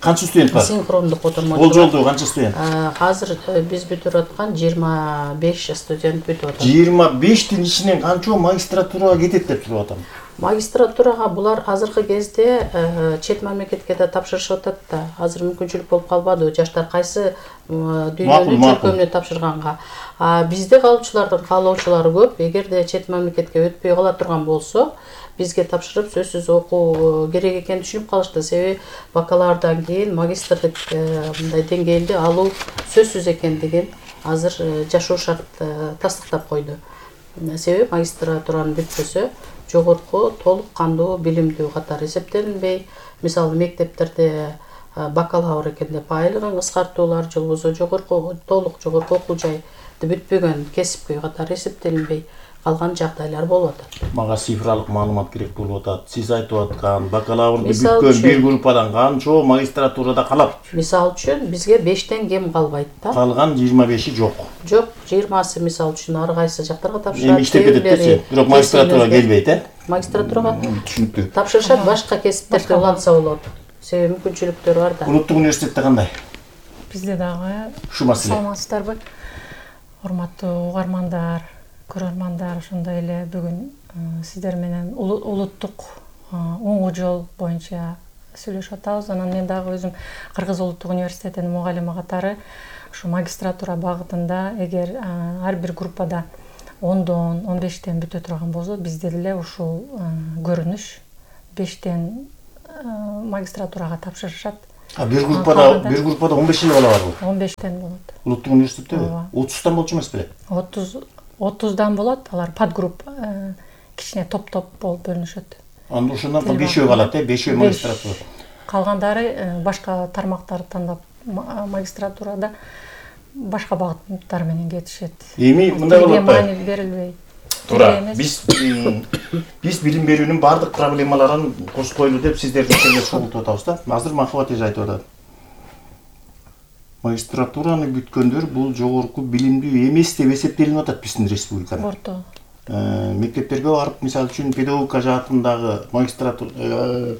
Канча студент бар? Синхрондук котормочу. Бул жолдо канча студент? Азыр биз бүтүрүп аткан жыйырма беш студент бүтүп атат. жыйырма бештин ичинен канчоо магистратурага кетет деп туруп атам. Магистратурага булар азыркы кезде чет мамлекетке да тапшырышып атат да. Азыр мүмкүнчүлүк болуп калбады. Жаштар кайсы дүйнөнүн чөлкөмүнө тапшырганга. А бизде калуучулардын каалоочулары көп. Эгерде чет мамлекетке өтпөй кала турган болсо, бизге тапшырып сөзсүз окуу керек экенин түшүнүп калышты. Себеби бакалаврдан кийин магистрлык мындай деңгээлде алуу сөзсүз экендигин азыр жашоо шарт тастыктап койду. Себеби магистратураны бүтпөсө жогорку толук кандуу билимдүү катары эсептелинбей, мисалы мектептерде бакалавр экен деп айлыгын кыскартуулар же болбосо жогорку толук жогорку окуу жайды бүтпөгөн кесипкөй катары эсептелинбей калган жагдайлар болуп атат. Мага цифралык маалымат керек болуп атат. Сиз айтып аткан бакалаврды бүткөн бир группадан канчоо магистратурада калат? Мисалы үчүн бизге бештен кем калбайт да. Калган жыйырма беши жок. Жок, жыйырмасы мисалы үчүн ар кайсы жактарга тапшырат. Эми иштеп кетет десе, бирок магистратурага келбейт, э? Магистратурага түшүнүктүү. Тапшырышат, башка кесиптерде уланса болот. Себеби мүмкүнчүлүктөр бар да. Улуттук университетте кандай? Бизде дагы Ушу маселе. Саламатсыздарбы? Урматтуу угармандар, көрөрмандар, ошондой эле бүгүн сиздер менен улуттук оңгу жол боюнча сүйлөшүп атабыз. Анан мен дагы өзүм Кыргыз улуттук университетинин мугалими катары ушу магистратура багытында эгер ар бир группада ондон он бештен бүтө турган болсо, бизде деле ушул көрүнүш бештен магистратурага тапшырышат. А бир группада бир группада он беш эле бала барбы? он бештен болот. Улуттук университеттеби? отуздан болчу эмеспи эле? отуз отуздан болот. Алар подгруппа кичине топ-топ болуп бөлүнүшөт. Анда ошондон кийин бешөө калат, э? Бешөө магистратура. Калгандары башка тармактарды тандап магистратурада башка багыттар менен кетишет. Эми мындай болот да. Маани берилбей. Туура. Биз биз билим берүүнүн бардык проблемаларын козгойлу деп сиздерди чогултуп атабыз да. Азыр Махабат эже айтып атат. Магистратураны бүткөндөр бул жогорку билимдүү эмес деп эсептелип атат биздин республикада. Орто. Мектептерге барып, мисалы үчүн педагогика жаатындагы магистратура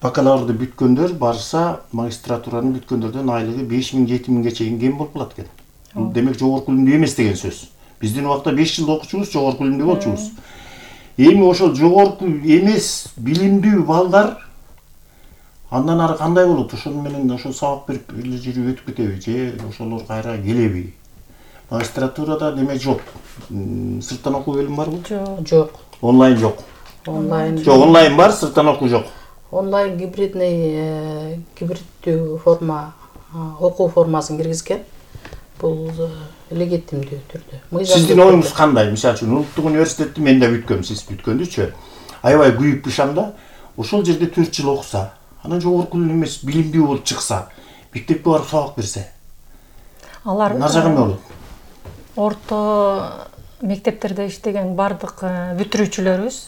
бакалаврды бүткөндөр барса, магистратураны бүткөндөрдөн айлыгы беш миң жети миңге чейин кем болуп калат экен. Демек жогорку билимдүү эмес деген сөз. Биздин убакта беш жыл окучубуз, жогорку билимдүү болчубуз. Эми ошол жогорку эмес билимдүү балдар андан ары кандай болот? Ошол менен ошол сабак берип эле жүрүп өтүп кетеби же ошолор кайра келеби? Магистратурада деме жок. Сырттан окуу бөлүмү барбы? Жок. Онлайн жок. Онлайн жок. Онлайн бар, сырттан окуу жок. Онлайн гибридный гибриддүү форма окуу формасын киргизген. Бул легитимдүү түрдө. Сиздин оюңуз кандай? Мисалы үчүн улуттук университетти мен да бүткөм, сиз бүткөндүчү. Аябай күйүп бышам да, ошол жерде төрт жыл окуса, анан жогорку эмес билимдүү болуп чыкса, мектепке барып сабак берсе. Алар Назагы эмне болот? Орто мектептерде иштеген бардык бүтүрүүчүлөрүбүз,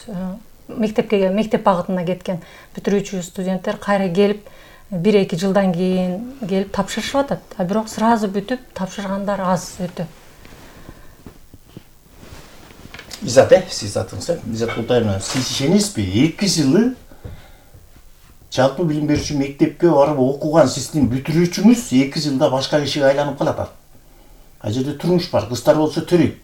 мектепке мектеп багытына кеткен бүтүрүүчү студенттер кайра келип бир эки жылдан кийин келип тапшырышып атат. А бирок сразу бүтүп тапшыргандар аз өтө. Изат, э, сиз атыңыз, Изат Култаевна, сиз ишенесизби? эки жылы жалпы билим берүүчү мектепке барып окуган сиздин бүтүрүүчүңүз эки жылда башка кишиге айланып калат. А жерде турмуш бар, кыздар болсо төрөйт.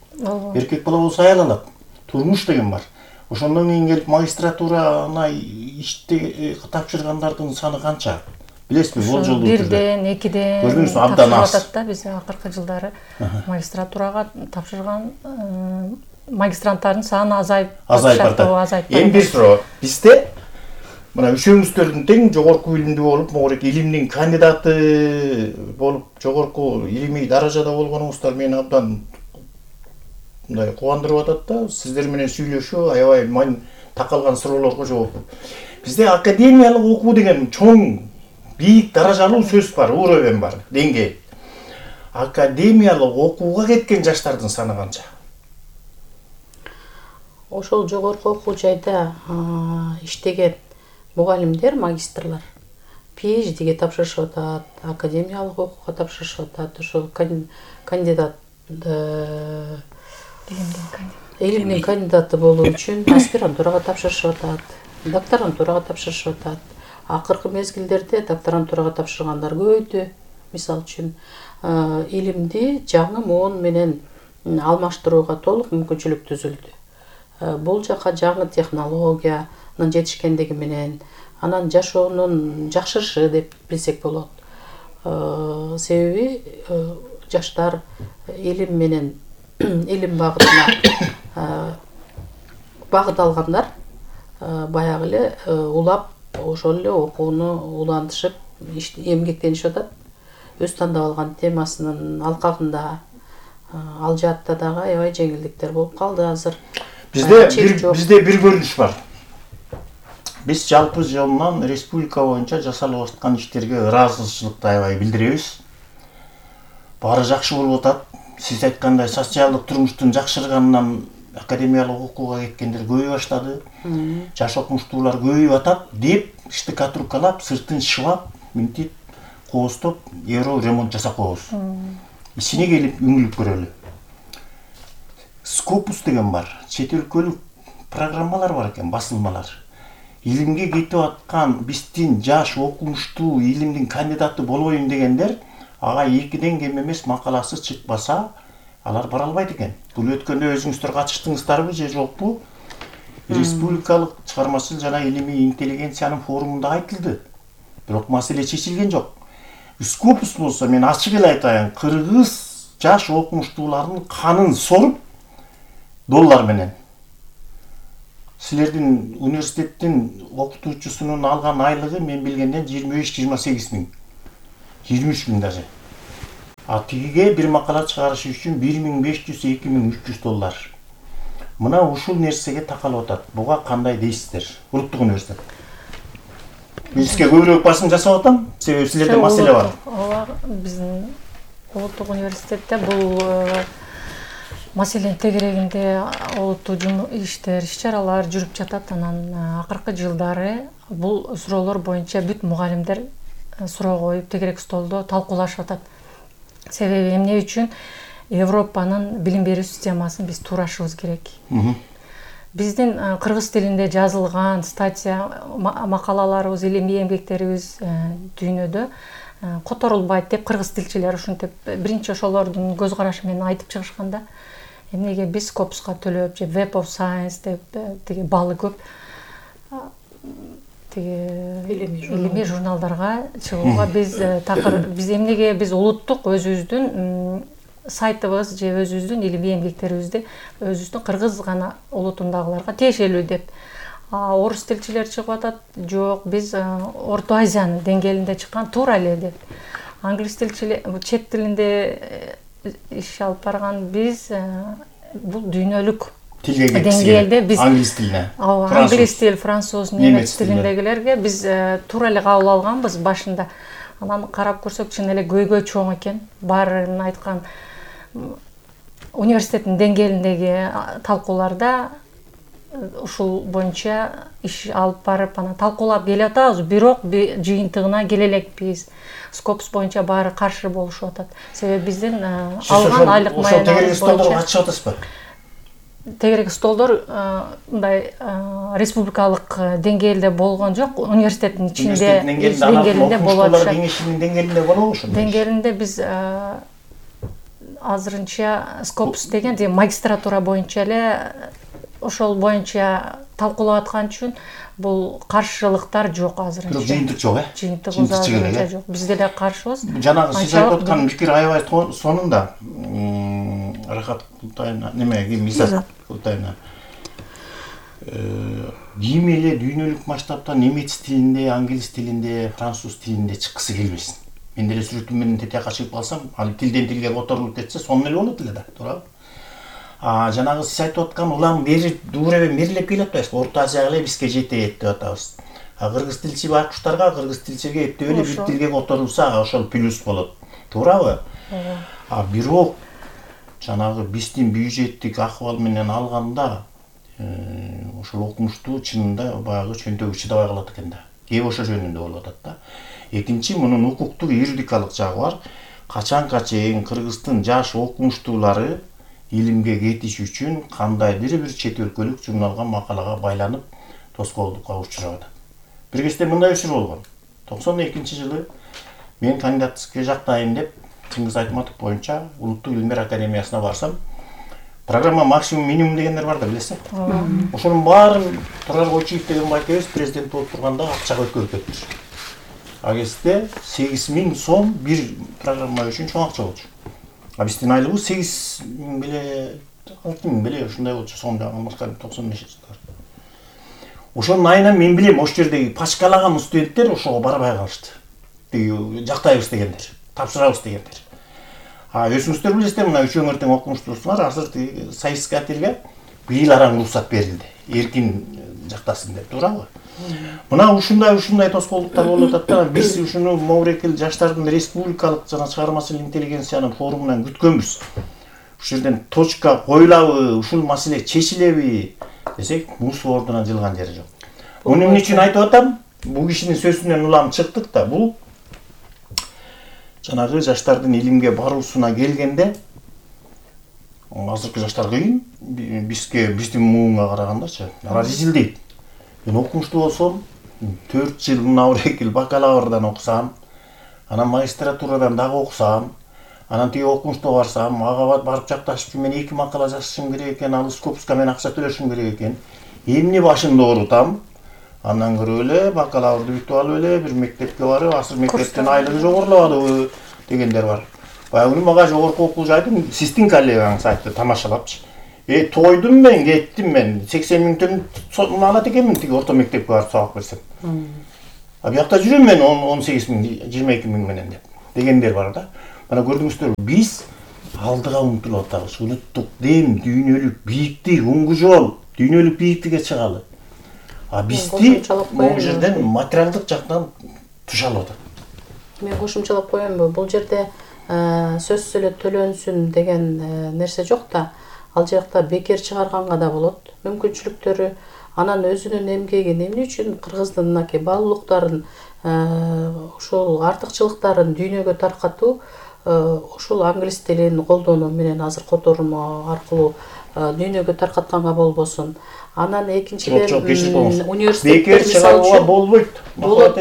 Эркек бала болсо аял алат. Турмуш деген бар. Ошондон кийин келип магистратураны иште тапшыргандардын саны канча? Билесизби, бул жолду бирден, экиден көрдүңүзбү, абдан аз. Тапшырып атат да, биз акыркы жылдары магистратурага тапшырган магистранттардын саны азайып азайып атат. Эми бир суроо, бизде мына үчөөңүздөрдүн тең жогорку билимдүү болуп, могорек илимдин кандидаты болуп, жогорку илимий даражада болгонуңуздар мени абдан мындай кубандырып атат да. Сиздер менен сүйлөшүү аябай мань такалган суроолорго жооп. Бизде академиялык окуу деген чоң, бийик даражалуу сөз бар, уровень бар, деңгээль. Академиялык окууга кеткен жаштардын саны канча? Ошол жогорку окуу жайда иштеген мугалимдер, магистрлар PhD'ге тапшырышып атат, академиялык окууга тапшырышып атат, ошол кандидат илимдин кандидаты болуу үчүн аспирантурага тапшырышып атат, докторантурага тапшырышып атат. акыркы мезгилдерде докторантурага тапшыргандар көбөйдү. Мисалы үчүн илимди жаңы моон менен алмаштырууга толук мүмкүнчүлүк түзүлдү. Бул жака жаңы технологиянын жетишкендиги менен анан жашоонун жакшырышы деп билсек болот. Себеби жаштар илим менен илим багытына багыт алгандар баягы эле улап ошол эле окууну улантышып эмгектенишип атат. Өз тандап алган темасынын алкагында ал жаатта дагы аябай жеңилдиктер болуп калды азыр. Бизде бир бизде бир көрүнүш бар. Биз жалпы жолунан республика боюнча жасалып аткан иштерге ыраазычылыкты аябай билдиребиз. Баары жакшы болуп атат. Сиз айткандай социалдык турмуштун жакшырганынан академиялык окууга кеткендер көбөйө баштады. Жаш окумуштуулар көбөйүп атат деп штыка туркалап, сыртын шыбап, мынтип кооздоп, евро ремонт жасап коебуз. Ичине келип үңүлүп көрөлү. Скопус деген бар. Чет өлкөлүк программалар бар экен, басылмалар. Илимге кетип аткан биздин жаш окумуштуу илимдин кандидаты болоюн дегендер ага экиден кем эмес макаласы чыкпаса, алар бара албайт экен. Бул өткөндө өзүңүздөр катыштыңыздарбы же жокпу? Республикалык чыгармачыл жана илимий интеллигенциянын форумунда айтылды. Бирок маселе чечилген жок. Скопус болсо мен ачык эле айтайын, кыргыз жаш окумуштуулардын канын соруп доллар менен. Силердин университеттин окутуучусунун алган айлыгы мен билгенден жыйырма беш жыйырма сегиз миң. жыйырма үч миң даже. А тигиге бир макала чыгарыш үчүн бир миң беш жүз эки миң үч жүз доллар. Мына ушул нерсеге такалып атат. Буга кандай дейсиздер? Улуттук университет. Бизге көбүрөөк басым жасап атам, себеби силерде маселе бар. Ооба, биздин улуттук университетте бул маселенин тегерегинде олуттуу иштер, иш-чаралар жүрүп жатат. Анан акыркы жылдары бул суроолор боюнча бүт мугалимдер суроо коюп, тегерек столдо талкуулашып атат. Себеби эмне үчүн Европанын билим берүү системасын биз туурашыбыз керек. Биздин кыргыз тилинде жазылган статья, макалаларыбыз, илимий эмгектерибиз дүйнөдө которулбайт деп кыргыз тилчилер ушинтип биринчи ошолордун көз карашы менен айтып чыгышканда, эмнеге биз Скопуска төлөп же Web of Science деп тиги балы көп илимий журналдарга чыгууга биз такыр биз эмнеге биз улуттук өзүбүздүн сайтыбыз же өзүбүздүн илимий эмгектерибизди өзүбүздүн кыргыз гана улутундагыларга тиешелүү деп. Орус тилчилер чыгып атат, жок, биз Орто Азиянын деңгээлинде чыккан туура эле деп. Англис тилчилер чет тилинде иш алып барган биз бул дүйнөлүк деңгээлде биз англис тилине, англис тил, француз, немец тилиндегилерге биз туура эле кабыл алганбыз башында. Анан карап көрсөк чын эле көйгөй чоң экен. Баарын айткан университеттин деңгээлиндеги талкууларда ушул боюнча иш алып барып, анан талкуулап келе атабыз, бирок жыйынтыгына келе элекпиз. Скопус боюнча баары каршы болушуп атат. Себеби биздин алган айлык маянабыз боюнча катышып атасызбы? Тегерек столдор мындай республикалык деңгээлде болгон жок, университеттин ичинде деңгээлинде болот. Окумуштуулар кеңешинин деңгээлинде болобу ошондой? Деңгээлинде биз азырынча Скопус деген магистратура боюнча эле ошол боюнча талкуулап аткан үчүн бул каршылыктар жок азырынча. Бирок жыйынтык жок, э? Жыйынтык азырынча жок. Биз деле каршыбыз. Жанагы сиз айтып аткан пикир аябай сонунда. Рахат Култайна, немеге Мизат Култайна. Ким эле дүйнөлүк масштабта немец тилинде, англис тилинде, француз тилинде чыккысы келбесин. Мен деле сүрөтүм менен тетиякка чыгып калсам, ал тилден тилге которулуп кетсе, сонун эле болот эле да, туурабы? А жанагы сиз айтып аткан улам бери дуурабе мерлеп келип атпайсызбы? Орто Азияга эле бизге жетет деп атабыз. А кыргыз тилчи байкуштарга, кыргыз тилчиге эптеп эле бир тилге которулса, ошол плюс болот. Туурабы? А бирок жанагы биздин бюджеттик акыбал менен алганда ошол окумуштуу чынында баягы чөнтөгү чыдабай калат экен да. Кеп ошо жөнүндө болуп атат да. Экинчи, мунун укуктук юридикалык жагы бар. Качанга чейин кыргыздын жаш окумуштуулары илимге кетиш үчүн кандайдыр бир чет өлкөлүк журналга, макалага байланып тоскоолдукка учурап атат. бир кезде мындай учур болгон. токсон экинчи жылы мен кандидатскийге жактайын деп Чыңгыз Айтматов боюнча Улуттук Илимдер Академиясына барсам, программа максимум минимум дегендер бар да, билесиз. Ошонун баарын Турар Койчиев деген байкебиз президент болуп турганда акчага өткөрүп кетти. А кезде сегиз миң сом бир программа үчүн чоң акча болчу. А биздин айлыгыбыз сегиз миң беле, алты миң беле ушундай болчу сом жагы токсон бешинчи жылдар. Ошонун айынан мен билем, ош жердеги пачкалаган студенттер ошого барбай калышты. Тиги жактайбыз дегендер, тапшырабыз дегендер. А өзүңүздөр билесиздер, мына үч өңүр тең окумуштуусуңар, азыр тиги союзкателге быйыл араң уруксат берилди. Эркин жактасын деп, туурабы? Мына ушундай ушундай тоскоолдуктар болуп атат да, биз ушуну Моврекил жаштардын республикалык жана чыгармачыл интеллигенциянын форумунан күткөнбүз. Ушул жерден точка коюлабы, ушул маселе чечилеби десек, муз ордуна жылган жери жок. Муну эмне үчүн айтып атам? Бул кишинин сөзүнөн улам чыктык да, бул жанагы жаштардын илимге баруусуна келгенде, азыркы жаштар кыйын, бизге биздин муунга карагандачы, алар изилдейт. Мен окумуштуу болсом, төрт жыл Маврекил бакалаврдан окусам, анан магистратурадан дагы окусам, анан тиги окумуштууга барсам, ага барып жакташып, мен эки макала жазышым керек экен, ал Скопуска мен акча төлөшүм керек экен. Эмне башымды оорутам? Андан көрө эле бакалаврды бүтүп алып эле бир мектепке барып, азыр мектептен айлыгы жогорулабадыбы дегендер бар. Баягы күнү мага жогорку окуу жайдын сиздин коллегаңыз айтты, тамашалапчы. Э, тойдум мен, кеттим мен. сексен миң төгүн алат экенмин тиги орто мектепке барып сабак берсем. А биякта жүрөм мен он сегиз миң, жыйырма эки миң менен деп. Дегендер бар да. Мана көрдүңүздөр, биз алдыга умтулуп атабыз. Улуттук дем, дүйнөлүк бийиктик, уңгу жол, дүйнөлүк бийиктикке чыгалы. А бизди могу жерден материалдык жактан тушалып атат. Мен кошумчалап коеюнбу, бул жерде сөзсүз эле төлөнсүн деген нерсе жок да. Ал жакта бекер чыгарганга да болот. Мүмкүнчүлүктөрү, анан өзүнүн эмгегин эмне үчүн кыргыздын мынакей баалуулуктарын, ошол артыкчылыктарын дүйнөгө таркатуу, ошол англис тилин колдонуу менен азыр котормо аркылуу дүйнөгө таркатканга болбосун. Анан экинчиден университет бекер чыгарууга болбойт. Болот,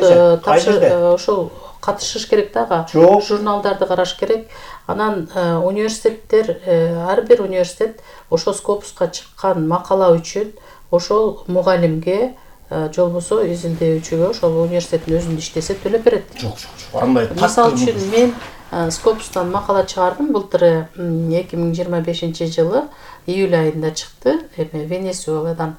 ошол катышыш керек дагы. Журналдарды караш керек. Анан университеттер, ар бир университет ошо Скопуска чыккан макала үчүн ошол мугалимге же болбосо изилдөөчүгө ошол университеттин өзүндө иштесе төлөп берет. Жок, жок, андай так. Мисалы үчүн мен Скопустан макала чыгардым, былтыр эки миң жыйырма бешинчи жылы июль айында чыкты, эме Венесуэладан.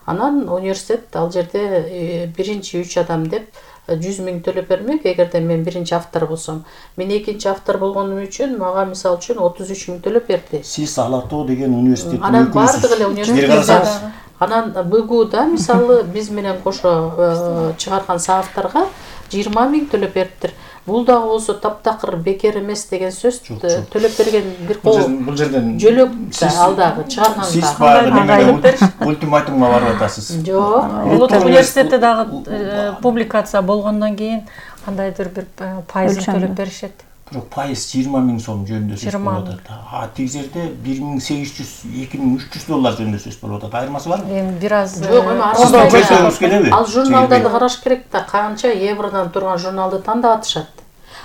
Анан университет ал жерде биринчи үч адам деп жүз миң төлөп бермек, эгерде мен биринчи автор болсом. Мен экинчи автор болгонум үчүн мага мисалы үчүн отуз үч миң төлөп берди. Сиз Алатоо деген университеттин өкүлүсүз. Анан бардык эле университет. Анан БГУда мисалы биз менен кошо чыгарган соавторго жыйырма миң төлөп бериптир. Бул дагы болсо таптакыр бекер эмес деген сөз, төлөп берген бир кол. Бул жерден жөлөк да ал дагы чыгарганга. Сиз баягы ультиматумга барып атасыз. Жок, Улуттук университетте дагы публикация болгондон кийин кандайдыр бир пайызын төлөп беришет. Бирок пайыз жыйырма миң сом жөнүндө сөз болуп атат. А тиги жерде бир миң сегиз жүз, эки миң үч жүз доллар жөнүндө сөз болуп атат. Айырмасы барбы? Эми бир аз жок, эми ал журналдарды караш керек да, канча евродон турган журналды тандап атышат.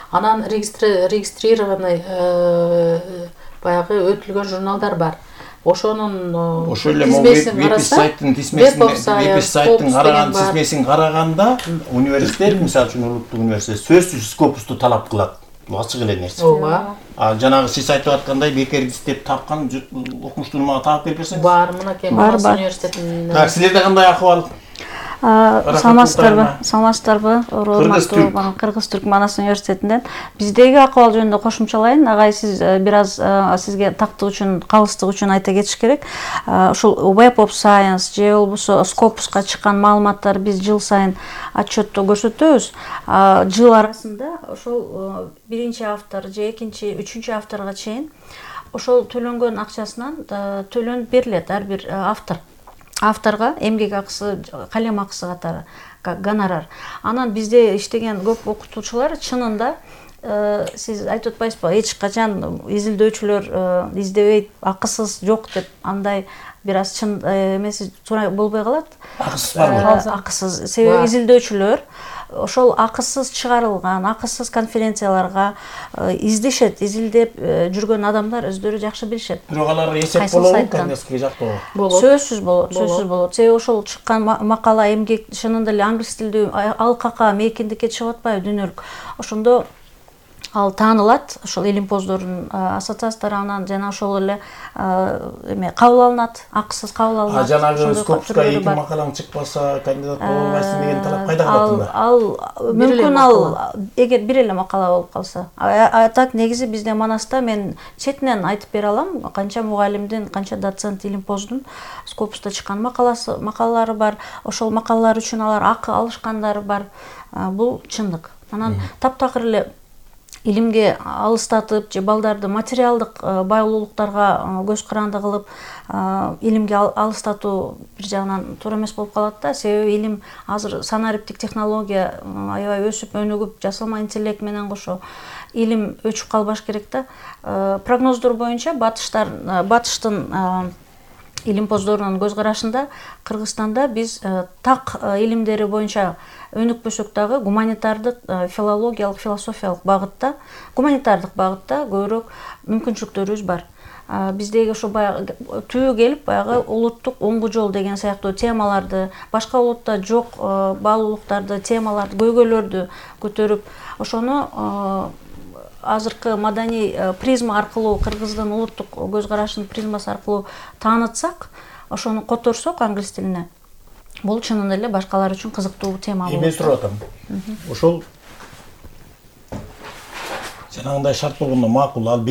Анан регистрированный баягы өтүлгөн журналдар бар. Ошонун тизмесин карасак, веб-сайттын караган тизмесин караганда университет, мисалы үчүн Улуттук университет сөзсүз Скопусту талап кылат. Бул ачык эле нерсе. Ооба. А жанагы сиз айтып аткандай бекер издеп тапкан окумуштууну мага таап берип берсеңиз. Бар, мынакей Манас университетинин. Так, силерде кандай акыбал? Саламатсыздарбы, саламатсыздарбы, урматтуу Кыргыз-Түрк Манас университетинен. Биздеги акыбал жөнүндө кошумчалайын. Агай, сиз бир аз сизге тактык үчүн, калыстык үчүн айта кетиш керек. Ушул Web of Science же болбосо Scopus'ка чыккан маалыматтар биз жыл сайын отчетто көрсөтөбүз. Жыл арасында ошол биринчи автор же экинчи, үчүнчү авторго чейин ошол төлөнгөн акчасынан төлөнүп берилет ар бир автор. Авторга эмгек акысы, калем акысы катары гонорар. Анан бизде иштеген көп окутуучулар чынында сиз айтып атпайсызбы, эч качан изилдөөчүлөр издебейт, акысыз жок деп, андай бир аз чын эмеси туура болбой калат. Акысыз барбы? Акысыз. Себеби изилдөөчүлөр ошол акысыз чыгарылган, акысыз конференцияларга издешет, изилдеп жүргөн адамдар өздөрү жакшы билишет. Бирок алар эсеп болобу, Конгресске жактоо? Сөзсүз болот, сөзсүз болот. Себеби ошол чыккан макала, эмгек чынында эле англис тилдүү алкакка, мейкиндикке чыгып атпайбы дүйнөлүк. Ошондо ал таанылат, ошол илимпоздордун ассоциация тарабынан жана ошол эле эме кабыл алынат, акысыз кабыл алынат. А жанагы Скопска эки макалаң чыкпаса, кандидат боло албайсың деген талап кайда калат анда? Ал мүмкүн ал эгер бир эле макала болуп калса. А так негизи бизде Манаста мен четинен айтып бере алам, канча мугалимдин, канча доцент илимпоздун Скопста чыккан макаласы, макалалары бар. Ошол макалалар үчүн алар акы алышкандары бар. Бул чындык. Анан таптакыр эле илимге алыстатып же балдарды материалдык байлуулуктарга көз каранды кылып илимге алыстатуу бир жагынан туура эмес болуп калат да. Себеби илим азыр санариптик технология аябай өсүп өнүгүп, жасалма интеллект менен кошо илим өчүп калбаш керек да. Прогноздор боюнча батыштар батыштын илимпоздорунун көз карашында Кыргызстанда биз так илимдери боюнча өнүкпөсөк дагы гуманитардык, филологиялык, философиялык багытта, гуманитардык багытта көбүрөөк мүмкүнчүлүктөрүбүз бар. Биздеги ошо баягы түбү келип, баягы улуттук оңгу жол деген сыяктуу темаларды, башка улутта жок баалуулуктарды, темаларды, көйгөйлөрдү көтөрүп, ошону азыркы маданий призма аркылуу, Кыргыздын улуттук көз карашынын призмасы аркылуу таанытсак, ошону которсок англис тилине, бул чынында эле башкалар үчүн кызыктуу тема болот. Эми сурап атам. Ошол жанагындай шарт болгондо макул, ал